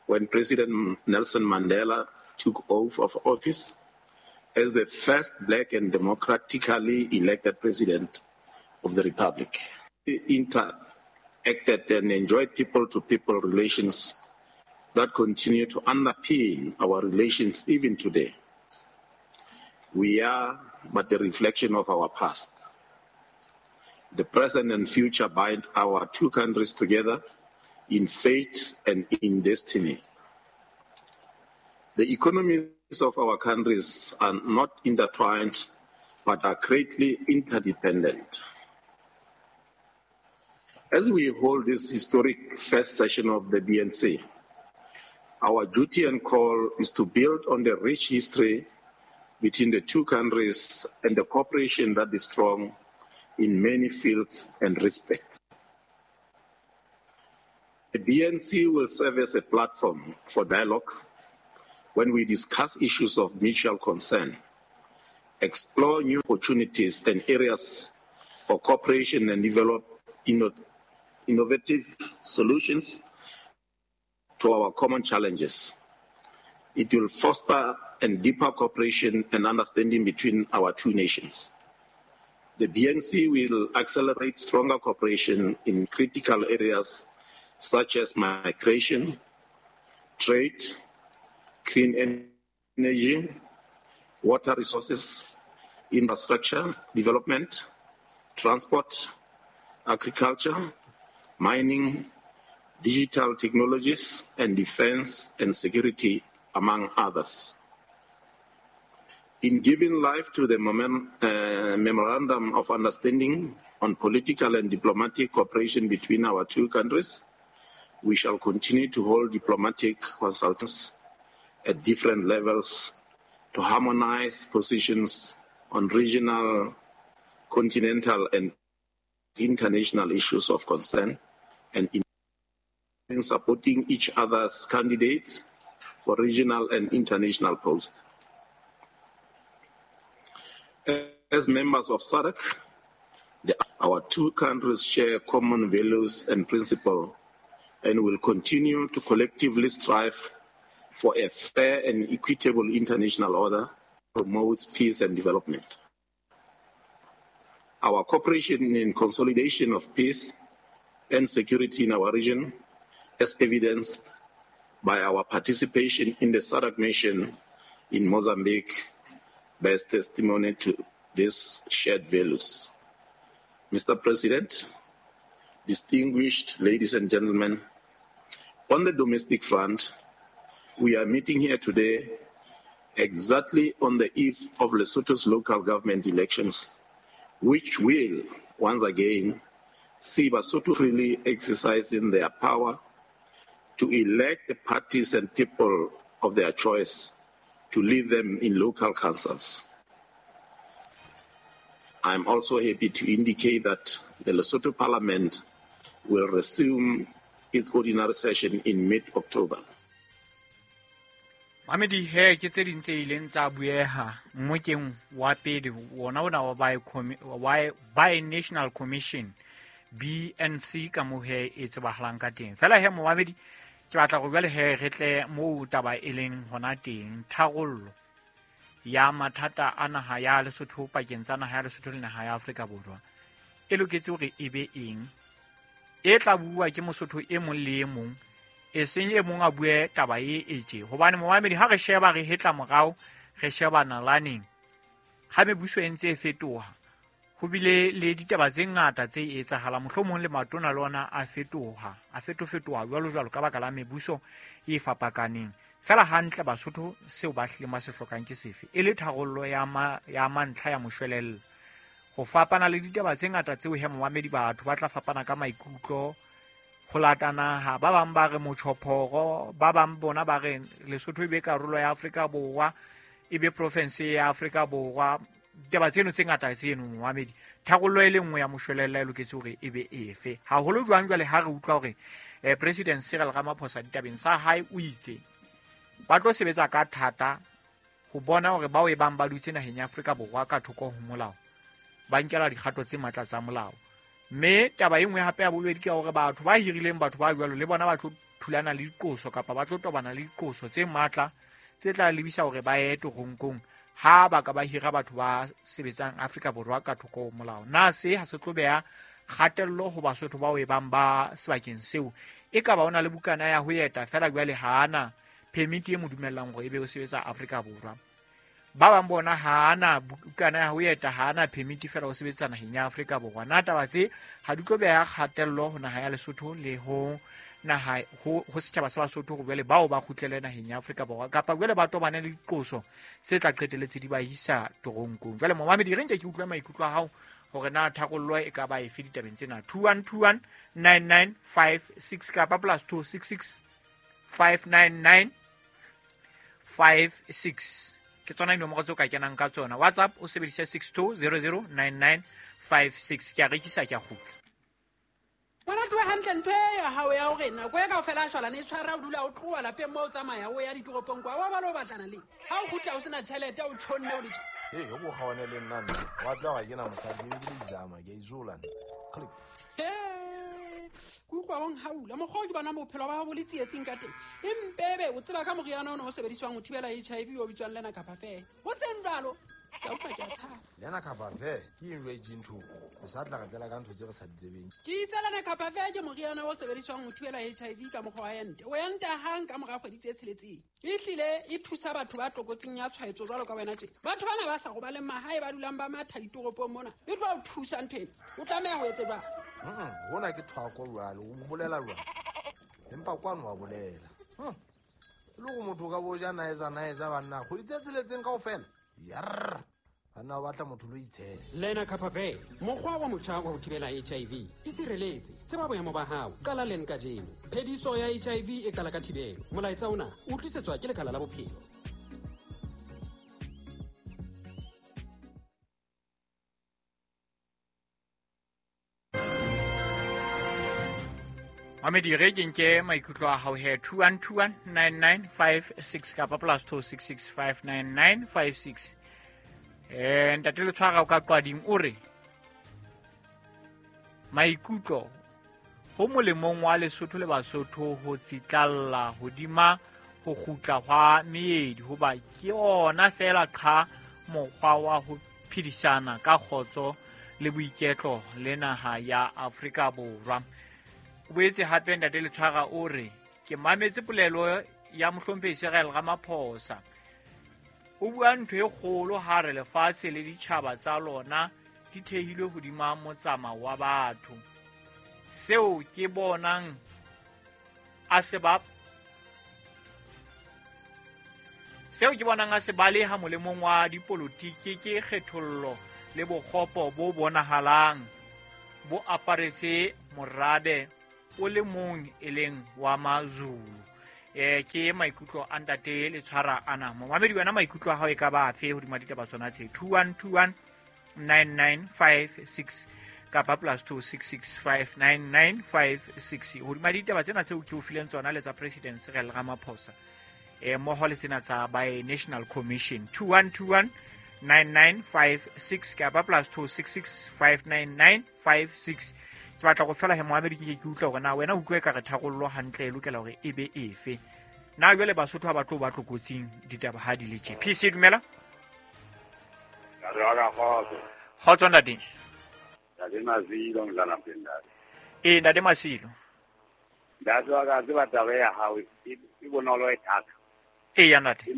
when President Nelson Mandela took oath of office as the first black and democratically elected president of the Republic. He interacted and enjoyed people-to-people relations that continue to underpin our relations even today. We are but the reflection of our past. The present and future bind our two countries together in fate and in destiny. The economies of our countries are not intertwined, but are greatly interdependent. As we hold this historic first session of the BNC, our duty and call is to build on the rich history between the two countries and the cooperation that is strong in many fields and respects. The BNC will serve as a platform for dialogue when we discuss issues of mutual concern, explore new opportunities and areas for cooperation and develop innovative solutions to our common challenges. It will foster and deeper cooperation and understanding between our two nations. The BNC will accelerate stronger cooperation in critical areas such as migration, trade, clean energy, water resources, infrastructure development, transport, agriculture, mining, digital technologies, and defense and security, among others. In giving life to the Memorandum of Understanding on political and diplomatic cooperation between our two countries, we shall continue to hold diplomatic consultations at different levels to harmonize positions on regional, continental, and international issues of concern, and in supporting each other's candidates for regional and international posts. As members of SADC, our two countries share common values and principles and will continue to collectively strive for a fair and equitable international order that promotes peace and development. Our cooperation in consolidation of peace and security in our region, as evidenced by our participation in the SADC mission in Mozambique, bears testimony to these shared values. Mr. President, distinguished ladies and gentlemen, on the domestic front, we are meeting here today exactly on the eve of Lesotho's local government elections, which will, once again, see Basotho freely exercising their power to elect the parties and people of their choice to lead them in local councils. I am also happy to indicate that the Lesotho Parliament will resume its ordinary session in mid-October. Mamedi he ke tse ding tse ileng tsa bueha mmokeng wa pele wona ona wa Bi-National Commission BNC ka moo he e tsebahalang ka teng. Fela he momamedi ke batla go jwale he re tle moo taba e leng hona teng tharollo. ya mathata a naha ya Lesotho pakeng tsa naha ya Lesotho le naha ya Afrika Borwa e loketse hore e be eng, e tla bua ke Mosotho e mong le e mong, e seng e mong a bue taba e etse. Hobane momamedi ha re sheba re hetla morao, re sheba nalaneng ha mebuso e ntse e fetoha, ho bile le ditaba tse ngata tse etsahala, mohlomong le matona le ona a fetoha, a fetofetoha jwalo jwalo ka baka la mebuso e fapakaneng. Fela hantle Basotho seo ba hlileng ba se hlokang ke sefe, e le tharollo ya mantlha ya moshwelella. Ho fapana le ditaba tse ngata tseo he momamedi batho ba tla fapana ka maikutlo ho lata naha, ba bang ba re motjhophoro, ba bang bona ba re Lesotho e be karolo ya Afrika Borwa, e be province ya Afrika Borwa. Ditaba tseno tse ngata tseno momamedi, tharollo e le nngwe ya moshwelella e loketse hore e be efe. Haholo jwang jwale ha re utlwa hore President Cyril Ramaphosa ditabeng sa hae o itse ba tlo sebetsa ka thata ho bona hore bao e bang ba dutse naheng ya Afrika Borwa ka thoko ho molao ba nkela dikgato tse matla tsa molao. Mme taba e nngwe hape ya bobedi ke hore batho ba hirileng batho ba jwalo le bona ba tlo thulana le diqoso kapa ba tlo tobana le diqoso tse matla tse tla lebisa hore ba ye toronkong ha ba ka ba hira batho ba sebetsang Afrika Borwa ka thoko ho molao. Na se ha se tlo beha kgatello ho Basotho bao e bang ba sebakeng seo? E ka ba o na le bukana ya ho eta fela jwale ha ana permit e mo dumellang hore ebe o sebetsa Afrika Borwa. Ba bang bona ha ana bukana ya ho eta, ha ana permit fela o sebetsa naheng ya Afrika Borwa. Na taba tse ha di tlo beha kgatello ho naha ya Lesotho le ho naha ho setjhaba sa Basotho hore jwale bao ba kgutlele naheng ya Afrika Borwa kapa jwale ba tobane le diqoso tse tla qetelletse di ba isa toronkong. Jwale momamedi re nke ke utlwe maikutlo a hao hore na tharollo e ka ba efe ditabeng tsena. 2121 9956 kapa +266 599 56 ke tsona dinomoro tseo ka kenang ka tsona. WhatsApp o sebedisa 62009956. Ke a rekisa, ke a kgutla. Ngwana tloha hantle ntho e ya hao ya hore nako e kaofela a shwalane e tshwara, o dula o tloha lapeng moo o tsamaya o ya ditoropong kwa, wa ba le o batlana le ha o kgutla o sena tjhelete, o tjhonne o le tje. Ee, o ko kgaone le nna nna. Wa tseba ga ke na mosadi, ke be ke le izama, ke a izola nna. Click. Ke utlwa o nhaula mokgwa o ke bonang bophelo ba hao bo le tsietsing ka teng. Empebe o tseba ka moriana ona o sebediswang ho thibela HIV o bitswang Lena Kapa Fair. Ho seng jwalo, ke a utlwa ke a tshaba. Lena Kapa Fair ke eng jwale tje ntho? Re sa tla re tlela ka ntho tse re sa di tsebeng. Ke itse Lena Kapa Fair ke moriana o sebediswang ho thibela HIV ka mokgwa wa ente. O enta hang ka mora kgwedi tse 6. Ehlile e thusa batho ba tlokotsing ya tshwaetso jwalo ka wena tje. Batho bana ba sa robaleng mahae ba dulang ba matha ditoropong mona. E tlo o thusa ntho ena. O tlameha ho etse jwang? Hona ke thwako jwalo, o bolela jwang? Empa kwano wa bolela. Le go motho ka bo ja naeza naeza banna, kgwedi tse tsheletseng kaofela. Yarr. Banna ba batla motho lo itshela. Lena Kapa Fair, mokgwa wa motjha wa ho thibela HIV. Itshireletse, tseba boemo ba hao, qala leng kajeno. Phediso ya HIV e qala ka thibelo. Molaetsa ona o tlisetswa ke Lekala la Bophelo. Mamedi re ke nke maikutlo a hao he 2121 9956 kapa +266 599 56. Ntate Letshwara o ka qwading o re maikutlo ho molemong wa Lesotho le Basotho ho tsitlalla hodima ho kgutla hwa meedi hoba ke ona fela qha mokgwa wa ho phedisana ka kgotso le boiketlo le naha ya Afrika Borwa. O boetse hape ntate Letshwara o re ke mametse polelo ya mohlomphehi Cyril Ramaphosa. O bua ntho e kgolo ha re lefatshe le ditjhaba tsa lona di thehilwe hodima motsamao wa batho. Seo ke bonang a se ba Seo ke bonang a se baleha molemong wa dipolotiki ke kgethollo le bokgopo bo bonahalang bo aparetse morabe o le mong e leng wa Mazulu. Ke maikutlo a ntate Letshwara ana. Momamedi wena maikutlo a hao e ka ba afe hodima ditaba tsona tse? 2121 9956 kapa +266 59956 hodima ditaba tsena tseo ke o fileng tsona le tsa President Cyril Ramaphosa mmoho le tsena tsa by National Commission. 2121 9956 kapa +266 59956. Ke batla go fela he moamedi ke ke utlwa hore na wena utlwe ka re tharollo hantle e lokela hore e be efe. Na jwale Basotho ha ba tlo ba tlokotsing ditaba ha di le tje. PC dumela. Ntate wa ka kgotso. Kgotso ntate. Ntate Masilo Mdlala ntate. Ee, ntate Masilo. Ntate wa ka tseba taba ya hao e bonolo e thata. Ee, ntate.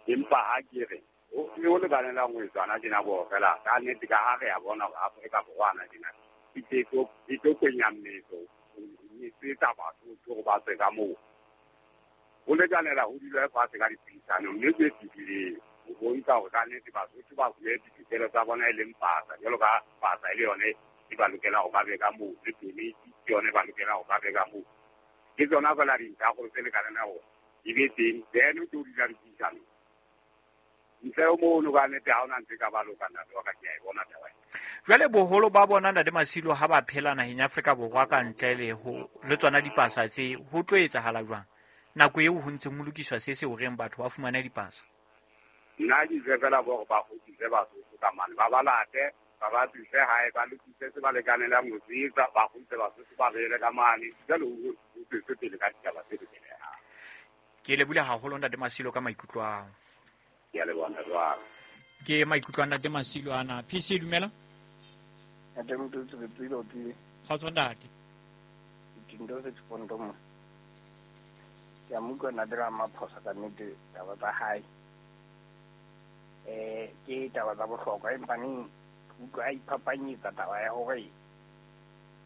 Empa ha ke re o lekanelang ho etswana tjena bo fela ka nnete ka ha re a bona hore Afrika Borwa ana tjena e tlo kwenya mmetso e tsa batho hore ba tswe ka moo. Ho lekanela ho dula fatshe ka dipuisano mme tse fetileng ho bontsha hore ka nnete Basotho ba fuwe ditokelo tsa bona e leng pasa jwalo ka pasa e le yone e ba lokela ho ba be ka moo le permit ke yone ba lokela ho ba be ka moo. Ke tsona fela dintlha gore tse lekanela hore di be teng, then o tlo dula dipuisano. Ntle ho mono ka nnete ha hona ntho e ka ba loka ntate wa ka, ke a e bona taba ena. Jwale boholo ba bona ntate Masilo ha ba phela naheng ya Afrika Borwa ka ntle le ho le tsona dipasa tse ho tlo etsahala jwang? Nako eo ho ntseng ho lokiswa se se horeng batho ba fumane dipasa. Nna ke itse fela bo hore ba kgutlise Basotho ka mane, ba ba late, ba ba tlise hae, ba lokise se ba lekanelang ho se etsa, ba kgutlise Basotho ba beele ka mane. Jwale ho tswetse pele ka ditaba tse lokelehang. Ke lebohile haholo ntate Masilo ka maikutlo ao. Ke a leboha ntate wa ka. Ke maikutlo a ntate Masilo ana. PC dumela. Ntate Mototsi re tswile o tswile. Kgotso ntate. Dintho tse tshondo mo. Ke a mo utlwa ntate Ramaphosa ka nnete taba tsa hae. Ke taba tsa bohlokwa empa neng utlwa a iphapanyetsa taba ya hore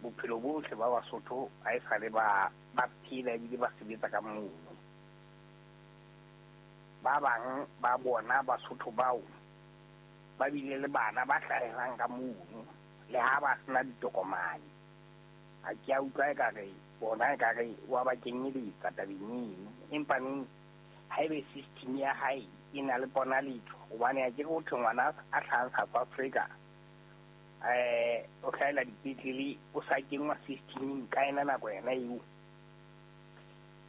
bophelo bohle ba Basotho ha e sale ba phela ebile ba sebetsa ka mono. Ba bang ba bona Basotho bao ba bile le bana ba hlahelang ka mono le ha ba sena ditokomane. Ha ke a utlwa ekare bona ekare wa ba kenyeletsa tabeng eno, empa neng haebe system ya hae e na le ponaletso, hobane ha ke re ho thwe ngwana a hlahang South Africa o hlahela dipetlele o sa kenngwa systeming ka ena nako yona eo.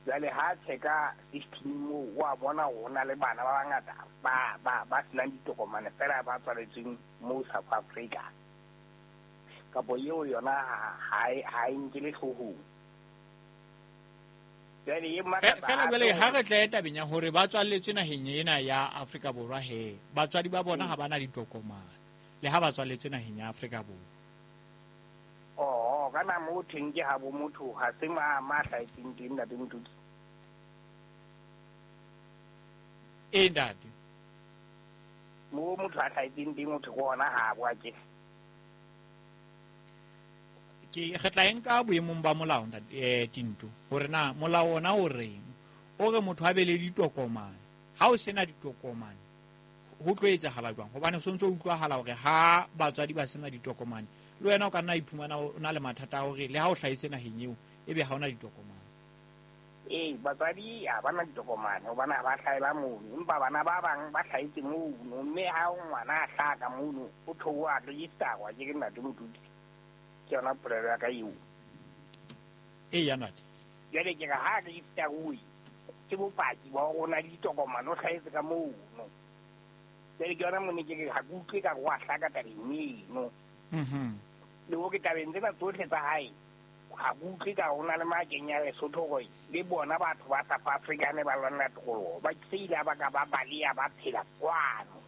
Jwale ha checka system moo wa bona hore ho na le bana ba bangata ba senang ditokomane fela ba tswaletsweng moo South Africa. Kapo eo yona ha e nkele hloohong. Jwale e makatsa Fela jwale ha re tle tabeng ya hore ba tswalletswe naheng ena ya Afrika Borwa he, batswadi ba bona ha ba na ditokomane le ha ba tswalletswe naheng ya Afrika Borwa. Oh, kana mo theng ke ha bo motho ha se ma hlahetseng teng ntate Mototsi. Ee ntate. Mo motho a hlahetseng teng motho ke ona ha bo a ke. Ke re tla enka boemong ba molao ntate Tinto hore na molao ona o reng, o re motho a be le ditokomane. Ha o sena ditokomane ho tlo etsahala jwang? Hobane so ntso utlwahala hore ha batswadi ba sena ditokomane le wena o ka nna iphumana o na le mathata a hore le ha o hlahetse naheng eo ebe ha ona ditokomane. Ee, batswadi ha bana ditokomane hobane ha ba hlahela mono, empa bana ba bang ba hlahetse mono, mme ha ngwana a hlaha ka mono o theoha register-wa ke re ntate Mototsi. Ke yona polelo ya ka eo. Ee, ya ntate. Jwale ke re ha register-uwe ke bopaki ba hore o na le ditokomane, o hlahetse ka mono. Jwale ke yona mone ke re ha ke utlwe ka re wa hlaka tabeng eno. Le hore tabeng tsena tsohle tsa hae ha ke utlwe ka ho na le makeng ya Lesotho hore le bona batho ba South Africa ne ba lwanela tokoloho ba se ile ba ka ba baleha ba phela kwano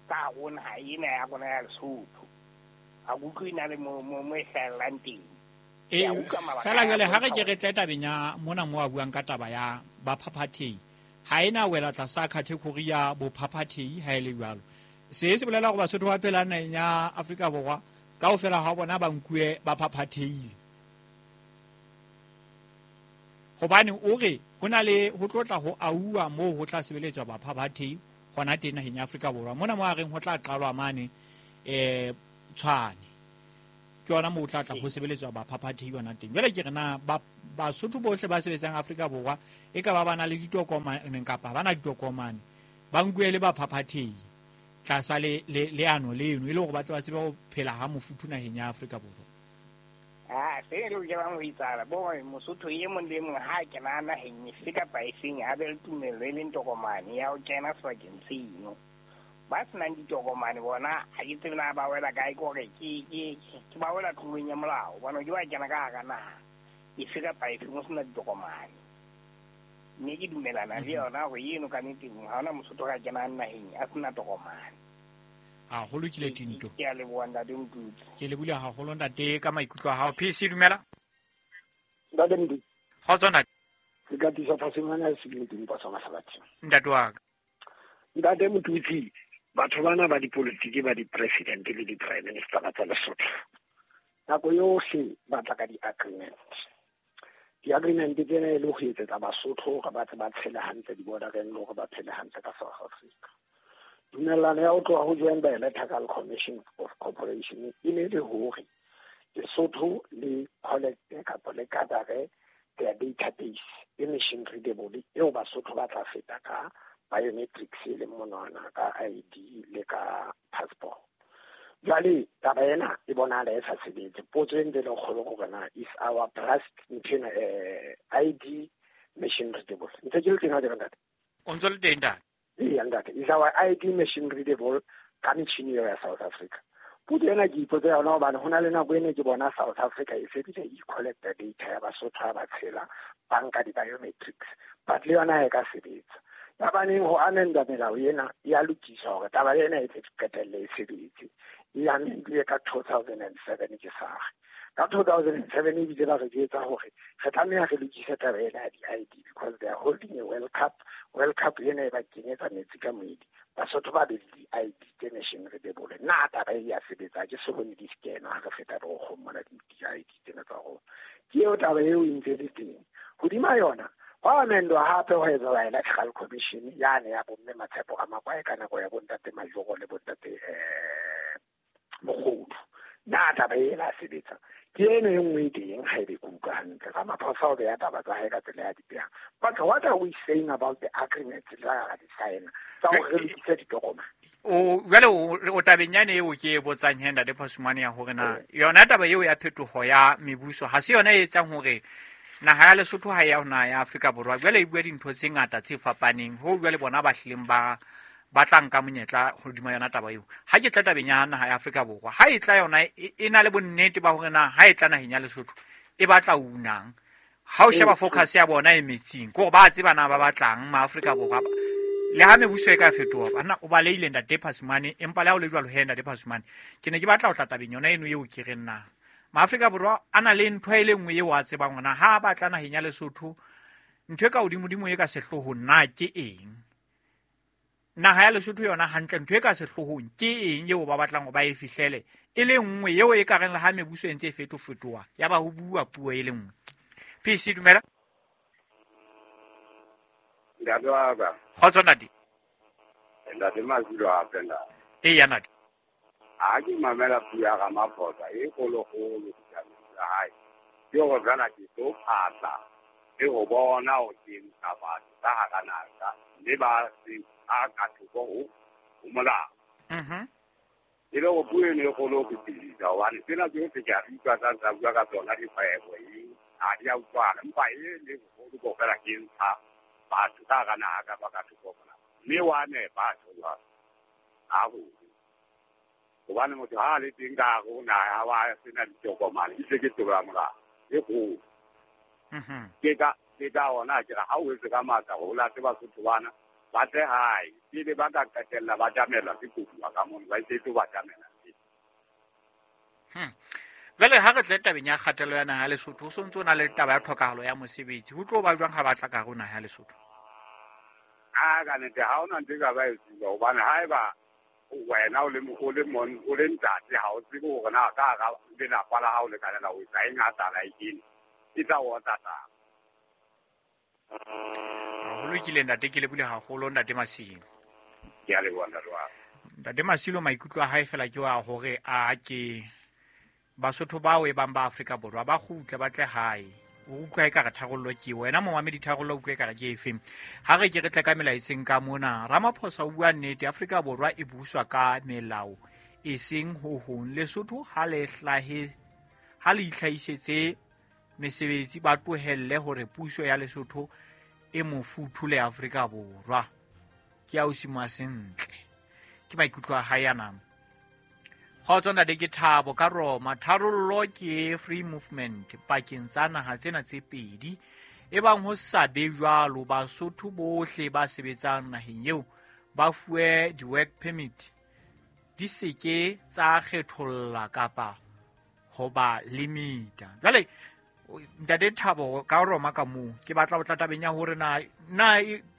ka hare ho naha ena ya rona ya Lesotho. Ha ke utlwe e na le mo e hlahellang teng. Ee, fela jwale ha re ke re tle tabeng ya mona mo a buang ka taba ya baphaphathehi, ha ena wela tlasa category ya bophaphathehi ha e le jwalo. Se se bolela hore Basotho ba phelang naheng ya Afrika Borwa kaofela ha bona ba nkuwe ba phaphathehile. Hobane o re ho na le ho tlotla ho auwa moo ho tla sebeletswa baphaphathehi hona teng naheng ya Afrika Borwa. Mona mo a reng ho tla qalwa mane Tshwane. Ke yona moo ho tla tla ho sebeletswa baphaphathehi hona teng. Jwale ke re na Basotho bohle ba sebetsang Afrika Borwa e ka ba ba na le ditokomane kapa ba na ditokomane ba nkuwe le baphaphathehi tlasa le leano leno e le hore ba tle ba tsebe ho phela ha mofuthu naheng ya Afrika Borwa. Ah, se lokelang ho etsahala bo hore Mosotho e mong le e mong ha a kena naheng efe kapa efeng a be le tumello e leng tokomane ya ho kena sebakeng seno. Ba senang ditokomane bona ha ke tsebe na ba wela kae, ke hore ke ba wela tlolong ya molao hobane ke ba kena ka hara naha efe kapa efe ho sena ditokomane. Mme ke dumelana le yona hore eno ka nnete ha hona Mosotho ka kenang naheng a sena tokomane. A ho lokile Tinto. Ke a leboha ntate Motutsi. Ke lebule haholo ntate ka maikutlo a hao. PC dumela. Ntate Motutsi. Kgotso ntate. Ke ka tisa Phasimane a sebile teng pasa mahlabathi. Ntate wa ka. Ntate Motutsi, batho bana ba dipolitiki ba di-president le di-prime minister tsa Lesotho. Nako yohle ba tla ka di-agreement. Di-agreement tsena e le ho etsetsa Basotho hore ba tle ba tshele hantle di-bordereng le hore ba phele hantle ka South Africa. Dumellano ya ho tloha ho Joint Bilateral Commission of Cooperation e ne le hore Lesotho le collecte kapa le gathere their database e machine readable eo Basotho ba tla feta ka biometrics e leng monwana ka ID le ka passport. Jwale taba ena e bonahala e sa sebetse. Potso e ntse e le kgolo ke hore na is our trust nthwena ID machine readable. Ntse ke le teng ha ke re ntate? O ntso le teng ntate? Eya ntate, is our ID machine readable ka metjhini eo ya South Africa? Potso ena ke ipotsa yona hobane ho na le nako e ne ke bona South Africa e se bile e collecta data ya Basotho ha ba tshela, ba nka di-biometrics, but le yona ha e ka sebetsa. Ya baneng ho amenda melao ena ya lokiswa hore taba ena e tle qetelle e sebetse. E amendilwe ka 2007 ke SARS. Ka 2007 ebile ba re jwetsa hore re tlameha re lokise taba ena ya di-ID because they are holding a World Cup. World Cup ena e ba kenyetsa metsi ka moedi. Basotho ba be le di-ID tse machine readable. Na taba e ya sebetsa, ke so bone di scanwa ha re feta borokgong mona di-ID tsena tsa rona. Ke eo taba eo e ntse le teng. Hodima yona, hwa amendwa hape ho etswa Electoral Commission yane ya bomme Matshepo a Makwae ka nako ya bontate Majoro le bontate Mokgodu. Na taba ena sebetsa. Ke eno e nngwe e teng ha ebe ke utlwa hantle. Ramaphosa o beha taba tsa hae ka tsela ya di behang. But what are we saying about the agreements tsa ra di sign-a tsa hore re lokise ditokomane? O jwale o tabeng yane eo ke e botsang he ntate Phasumane ya hore na yona taba eo ya phetoho ya mebuso ha se yona e etsang hore naha ya Lesotho ha e ya ho naha ya Afrika Borwa jwale e bua dintho tse ngata tse fapaneng ho jwale bona ba hlileng ba tla nka monyetla hodima yona taba eo. Ha ke tla tabeng ya naha ya Afrika Borwa, ha e tla yona e na le bonnete ba hore na ha e tla naheng ya Lesotho e batla unang. Ha o sheba focus ya bona e metsing, ke hore ba tseba na ba batlang ma Afrika Borwa. Le ha mebuso e ka fetoha, banna o balehile ntate Phasumane, empa le ha o le jwalo he ntate Phasumane, ke ne ke batla ho tla tabeng yona eno eo ke reng na Maafrika Borwa a na le ntho e le nngwe eo a tsebang hore na ha ba tla naheng ya Lesotho ntho e ka hodimodimo e ka sehloohong na ke eng. Naha ya Lesotho yona hantle ntho e ka sehloohong ke eng eo ba batlang hore ba e fihlele e le nngwe eo e ka reng le ha mebuso e ntse e fetofetoha ya ba ho bua puo e le nngwe. PC dumela. Ntate wa ka. Kgotso ntate. Ntate Mazulu hape ntate. Eya ntate. Ha ke mamela puo ya Ramaphosa e kgolokgolo ditabeng tsa hae, ke hore feela ke tlo phatla le ho bona hore ke ntsha batho ka hara naha mme ba se a ka thoko ho molao. E le hore puo eno e kgolo ho fetisisa hobane tsena tsohle ke a di utlwa tsa ntsa bua ka tsona dikgwebo eng ha di a utlwana, empa e le boholo ke hore feela ke ntsha batho ka hara naha kapa ka thoko ho molao. Mme wa nepa jwalo haholo. Hobane motho ha a le teng ka hare ho naha ha wa sena ditokomane, e se ke tlolo ya molao e kgolo. Ke ka hona ke re ha o etse ka matla hore o late Basotho bana ba tle hae pele ba ka qetella ba tjamelwa ke koduwa ka mono, ba etse tlo ba tjamela. Jwale ha re tle tabeng ya kgatello ya naha ya Lesotho, ho sontso na le taba ya tlhokahalo ya mosebetsi, ho tlo ba jwang ha ba tla ka hare ho naha ya Lesotho? A ka nnete ha hona ntho e ka ba e etsuwa hobane haeba wena o le o le ntate ha o tsebe hore na ka hara lelapa la hao le kanela ho etsa eng ha tlala e kene, e tla o otla taba. Ho lokile ntate, ke lebule haholo ntate Masilo. Ke a leboha ntate wa ka. Ntate Masilo maikutlo a hae fela ke wa hore a ke Basotho bao e bang ba Afrika Borwa ba kgutle ba tle hae. O utlwa e ka re tharollo ke wena momamedi, tharollo utlwa e ka re ke efe? Ha re ke re tle ka melaetseng ka mona. Ramaphosa o bua nnete, Afrika Borwa e buswa ka melao e seng ho hong. Lesotho ha le hlahe, ha le itlhahisetse mesebetsi, ba tlohelle hore puso ya Lesotho e mofuthu le Afrika Borwa. Ke a o simoa sentle. Ke maikutlo a hae ana. Kgotso ntate, ke Thabo ka Roma. Tharollo ke free movement pakeng tsa naha tsena tse pedi. Ebang ho sa be jwalo, Basotho bohle ba sebetsang naheng eo ba fuwe di-work permit. di seke tsa kgetholla kapa ho ba limita. Jwale ntate Thabo ka Roma ka moo ke batla ho tla tabeng ya hore na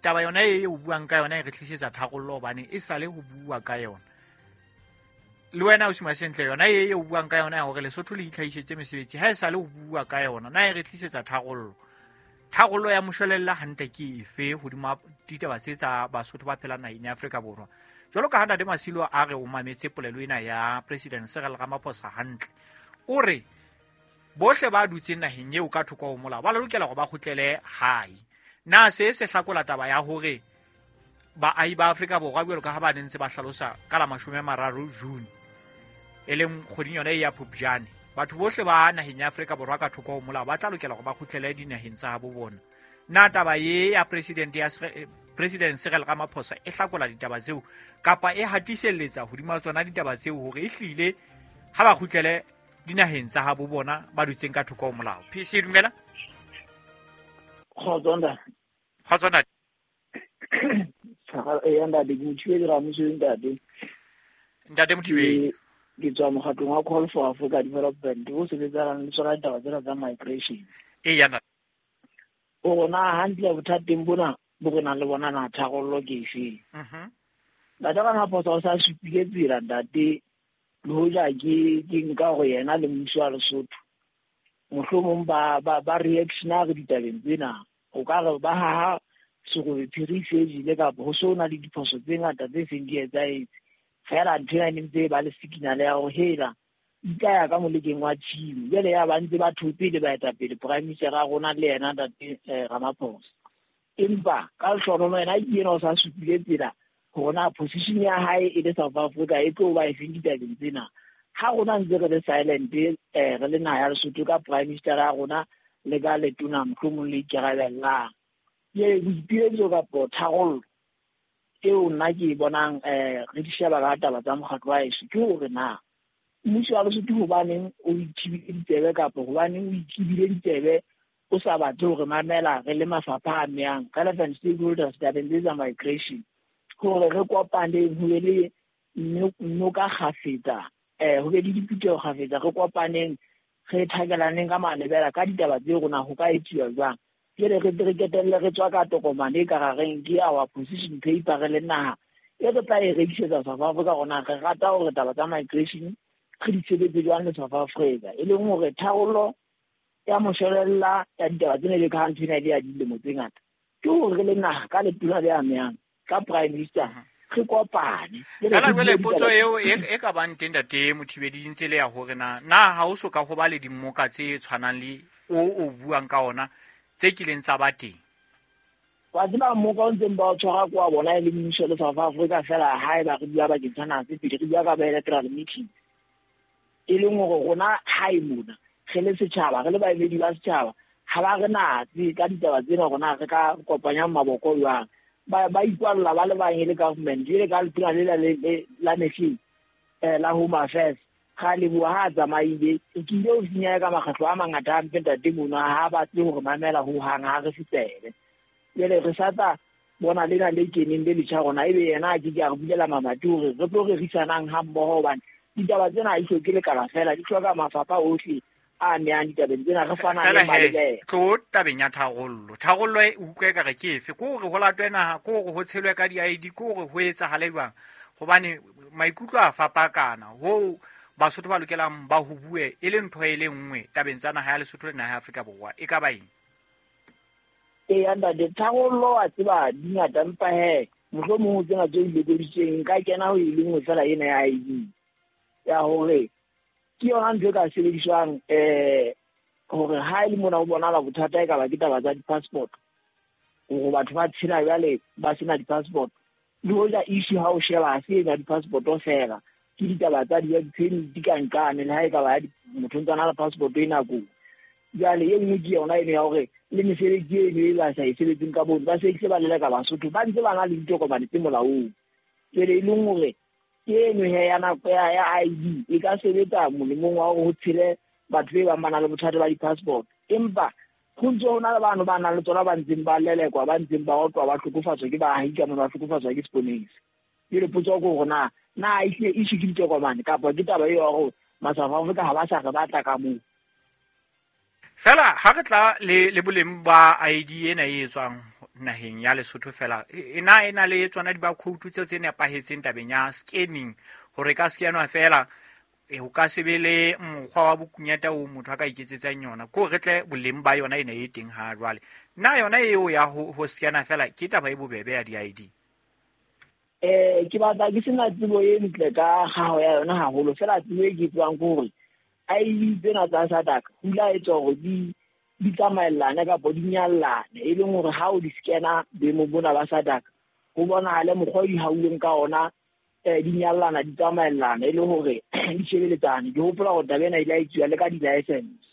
taba yona e o buang ka yona e re tlisetsa tharollo hobane e sale ho bua ka yona. Le wena o sima sentle yona e o buang ka yona ya hore Lesotho le itlhahisetse mesebetsi ha e sale ho bua ka yona na e re tlisetsa tharollo. Tharollo ya moshwelella hantle ke efe hodima ditaba tse tsa Basotho ba phelang naheng ya Afrika Borwa? Jwalo ka ha ntate Masilo a re o mametse polelo ena ya President Cyril Ramaphosa hantle, o re bohle ba dutseng naheng eo ka thoko ho molao ba lokela hore ba kgutlele hae. Na se se hlakola taba ya hore baahi ba Afrika Borwa jwalo ka ha ba ne ntse ba hlalosa ka la 30 June e leng kgweding yona e ya Phupjane, batho bohle ba naheng ya Afrika Borwa ka thoko ho molao ba tla lokela hore ba kgutlele dinaheng tsa habo bona. Na taba ye ya President Cyril Ramaphosa e hlakola ditaba tseo kapa e hatiselletsa hodima tsona ditaba tseo hore e hlile ha ba kgutlele dinaheng tsa habo bona ba dutseng ka thoko ho molao? PC dumela. Kgotso ntate. Kgotso ntate. Eya ntate, ke Mothibedi Ramoso ntate. Ntate Mothibedi. Ke tswa mokgatlong wa Call for Africa Development o sebetsanang le tsona ditaba tsena tsa migration. Eya ntate. O rona hantle bothateng bona bo re nang le bona na tharollo ke efeng? Ntate Ramaphosa o sa supile tsela ntate, le hoja ke nka hore yena le mmuso wa Lesotho mohlomong ba reactionary ditabeng tsena, o ka re ba haha serobe phiri se jele kapa ho so na le diphoso tse ngata tse seng di etsahetse. Fela ntho ena e ne ntse ba le signal ya hore hela di tla ya ka molekeng wa tshimo. Jwale ya ba ntse ba thotse le baetapele Prime Minister a rona le yena ntate Ramaphosa. Empa ka lehlohonolo yena ke yena o sa supile tsela hore na position ya hae e le South Africa e tlo ba efeng ditabeng tsena. Ha rona ntse re le silent re le naha ya Lesotho ka Prime Minister ya rona le ka letona mohlomong le ikarabellang. Ke boipiletso kapa tharollo eo nna ke e bonang re di sheba ka taba tsa mokgatlo wa heso ke hore na mmuso wa Lesotho hobaneng o ithibile ditsebe kapa hobaneng o ithibile ditsebe o sa batle hore mamela re le mafapha a amehang relevant stakeholders tabeng tse tsa migration, hore re kopaneng ho be le noka kgafetsa, ho be le diphutheho kgafetsa, re kopaneng re thakelaneng ka malebela ka ditaba tse rona ho ka etsuwa jwang. Jwale re qetelle re tswa ka tokomane e ka rareng ke our position paper re le naha e re tla e rekisetsa South Africa rona re rata hore taba tsa migration re di sebetse jwang le South Africa, e leng hore tharollo ya moshwelella ya ditaba tsena le ka ntho ena e le ya dilemo tse ngata ke hore re le naha ka letona le amehang ka Prime Minister re kopane. Fela jwale potso eo e ka bang teng ntate Mothibedi ntse le ya hore na ha o so ka ho ba le dimmoka tse tshwanang le o buang ka ona tse kileng tsa ba teng? Wa tseba mmoka o ntseng ba o tshwara kwa bona e le mmuso le South Africa fela haeba re bua bakeng sa naha tse pedi, re bua ka bilateral meeting, e leng hore rona hae mona re le setjhaba, re le baemedi ba setjhaba, ha ba re natse ka ditaba tsena rona re ka kopanyang maboko jwang. Ba ikwalla ba le bang e le government, jwale ka letona lela la mehleng la Home Affairs ga leboha ha a tsamaile. Ke ile ho finya ka makgetlo a mangata hampe ntate mono, ha batle hore mamela hohang, ha re fetsele. Jwale re sa tla bona lena le keneng le letjha rona, ebe yena a ke ke a re bulela mamati hore re tlo rerisanang ha mmoho, hobane ditaba tsena ha di hloke lekala fela, di hloka mafapha ohle a amehang ditabeng tsena, re fana le malebela. Tlo tabeng ya tharollo. Tharollo e utlwe ekare ke efe? Ke hore ho latwe naha, ke hore ho tshelwe ka di-ID, ke hore ho etsahale jwang? Hobane maikutlo a fapakana hoo Basotho ba lokelang ba ho bue e le ntho e le nngwe tabeng tsa naha ya Lesotho le naha ya Afrika Borwa. E ka ba eng? Eya ntate, tharollo wa tseba di ngata, empa he mohlomong ho tsena tse ilekoditsweng nka kena ho e le nngwe fela ena ya ID ya hore ke yona ntho e ka sebediswang hore ha e le mona ho bonahala bothata e ka ba ke taba tsa di-passport, hore batho ba tshela jwale ba sena di-passport. Le hoja issue ha o sheba ha se ena di-passport fela, ke ditaba tsa di-permit di ka nqane, le ha e ka ba motho ntse a na le passport e nakong. Jwale e nngwe ke yona eno ya hore le mesebetsi eno e ba sa e sebetseng ka bone, ba sebedise ba leleka Basotho ba ntse ba na le ditokomane tse molaong. Jwale e leng hore ke eno he ya nako ya ID e ka sebetsa molemong wa hore ho tshele batho be bang ba na le bothata ba di-passport, empa ho ntse ho na le bano ba nang le tsona ba ntseng ba lelekwa, ba ntseng ba otlwa, ba hlokofatswa ke baahi ka mona, ba hlokofatswa ke seponesa. Jwale potso ke hore na Na ehlile issue ke ditokomane kapa ke taba eo ya hore ma-South Africa ha ba sa re batla ka moo? Fela ha re tla le boleng ba ID ena e etswang naheng ya Lesotho fela, e na e na le tsona di-barcode tseo tse nepahetseng tabeng ya scanning, hore ka scanwa fela ho ka se be le mokgwa wa bokunyata oo motho a ka iketsetsang yona, ko re tle boleng ba yona ena e teng ha jwale. Na yona eo ya ho scanna fela ke taba e bobebe ya di-ID? Ke batla ke sena tsebo e ntle ka kgaho ya yona haholo, fela tsebo e ke tsebang ke hore ID tsena tsa SADC ho ile ha etswa hore di tsamaellane kapa di nyallane, e leng hore ha o di scanna boemong bona ba SADC ho bonahale mokgwa o di hauweng ka ona, di nyallana, di tsamaellana, e le hore di shebeletsane. Ke hopola hore taba ena e ile ya etsuwa le ka di-license,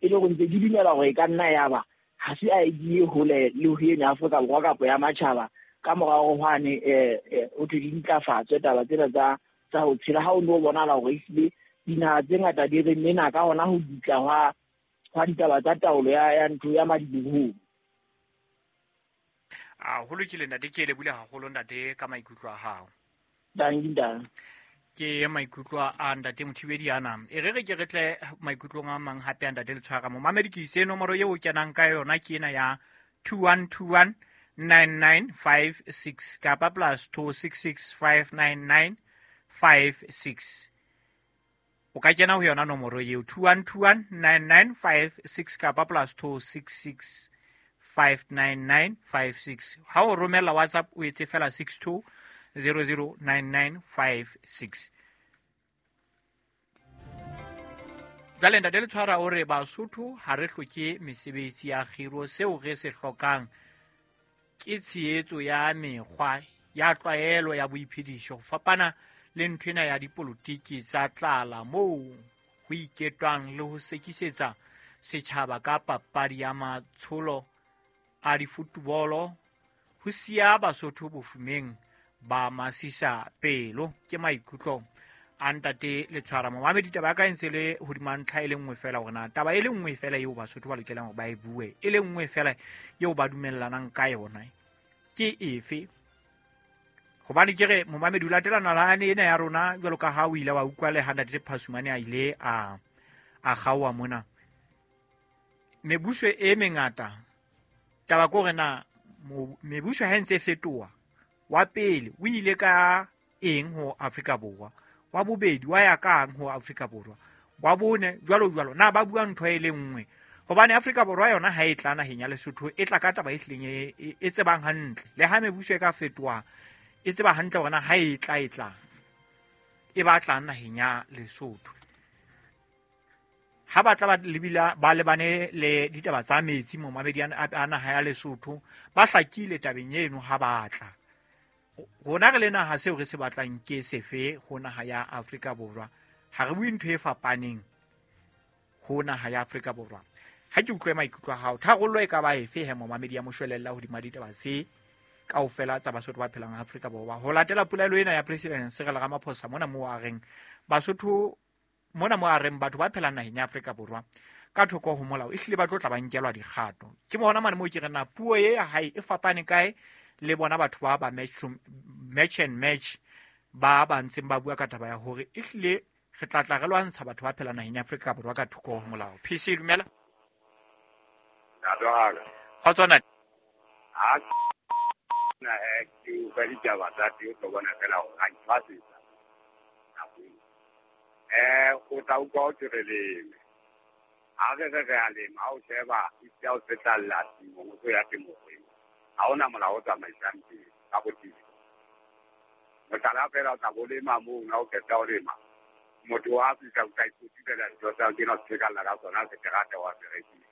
e le hore ntse ke dumela hore e ka nna ya ba ha se ID e hole le ho ena Afrika Borwa kapa ya matjhaba. Ka morao hwane ho thwe di ntlafatswe taba tsena tsa ho tshela, ha o no bonahala hore ehlile dinaha tse ngata di re mena ka hona ho dutla hwa ditaba tsa taolo ya ntho ya madibohong. A ho lokile ntate, ke lebohile haholo ntate ka maikutlo a hao. Danki ntate. Ke maikutlo a ntate Mothibedi ana. E re ke re tle maikutlong a mang hape a ntate Letshwara. Momamedi ke ise nomoro eo o kenang ka yona ke ena ya 2121 9956 kapa plus 266 599 56. O ka kena ho yona nomoro eo 2121 9956 kapa plus 266 599 56. Ha o romela WhatsApp o etse fela 62 009956. Jwale ntate Letshwara o re Basotho ha re hloke mesebetsi ya kgiro, seo re se hlokang ke tshehetso ya mekgwa ya tlwaelo ya boiphediso, ho fapana le ntho ena ya dipolotiki tsa tlala moo ho iketwang le ho sekisetsa setjhaba ka papadi ya matsholo a difutubolo, ho siya Basotho bofumeng ba masisa pelo. Ke maikutlo a ntate Letshwara. Momamedi, taba ya ka e ntse le hodima ntlha e le nngwe fela, hore na taba e le nngwe fela eo Basotho ba lokelang hore ba e bue, e le nngwe fela eo ba dumellanang ka yona ke efe? Hobane ke re momamedi, o latela nalane ena ya rona jwalo ka ha o ile wa utlwa le ha ntate Phasumane a ile a kgaoha mona. Mebuso e mengata, taba ke hore na mebuso ha e ntse e fetoha, wa pele o ile ka eng ho Afrika Borwa, wa bobedi wa ya kang ho Afrika Borwa, wa bone jwalo jwalo, na ba bua ntho e le nngwe? Hobane Afrika Borwa yona ha e tla naheng ya Lesotho, e tla ka taba e hlileng e tsebang hantle. Le ha mebuso e ka fetoha, e tseba hantle hore na ha e tla e batlang naheng ya Lesotho. Ha ba tla ba lebila ba lebane le ditaba tsa metsi momamedi a naha ya Lesotho, ba hlakile tabeng eno ha ba tla. Rona re le naha, seo re se batlang ke sefe ho naha ya Afrika Borwa? Ha re bue ntho e fapaneng ho naha ya Afrika Borwa. Ha ke utlwe maikutlo a hao, tharollo e ka ba efe he momamedi ya moshwelella hodima ditaba tse kaofela tsa Basotho ba phelang Afrika Borwa? Ho latela polelo ena ya President Cyril Ramaphosa mona moo a reng Basotho, mona moo a reng batho ba phelang naheng ya Afrika Borwa ka thoko ho molao ehlile ba tlo tla ba nkelwa dikgato. Ke mona mane moo ke re na puo e ya hae e fapane kae le bona batho ba ba match and match ba ba ntseng ba bua ka taba ya hore ehlile re tla tla re lwantsha batho ba phelang naheng ya Afrika Borwa ka thoko ho molao. PC dumela. Kgotso ntate. Ha na ke utlwa ditaba tsa teng, o tlo bona fela hore ha ke tshwasetsa. O tla utlwa ho thwe re leme. Ha re re a lema, ha o sheba e o setlalla temong, o tlo ya temong. Ha hona molao o tsamaisang teng ka botebo. Mohlala fela o tla bo lema moo, ha o qeta ho lema, motho wa fihla o tla ikotulela dintho tsa hao, kena o tshekalla ka sona seterata wa se rekisa.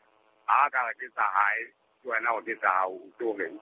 Ha ka re ke tsa hae, ke wena o ke tsa hao, o tlo reng?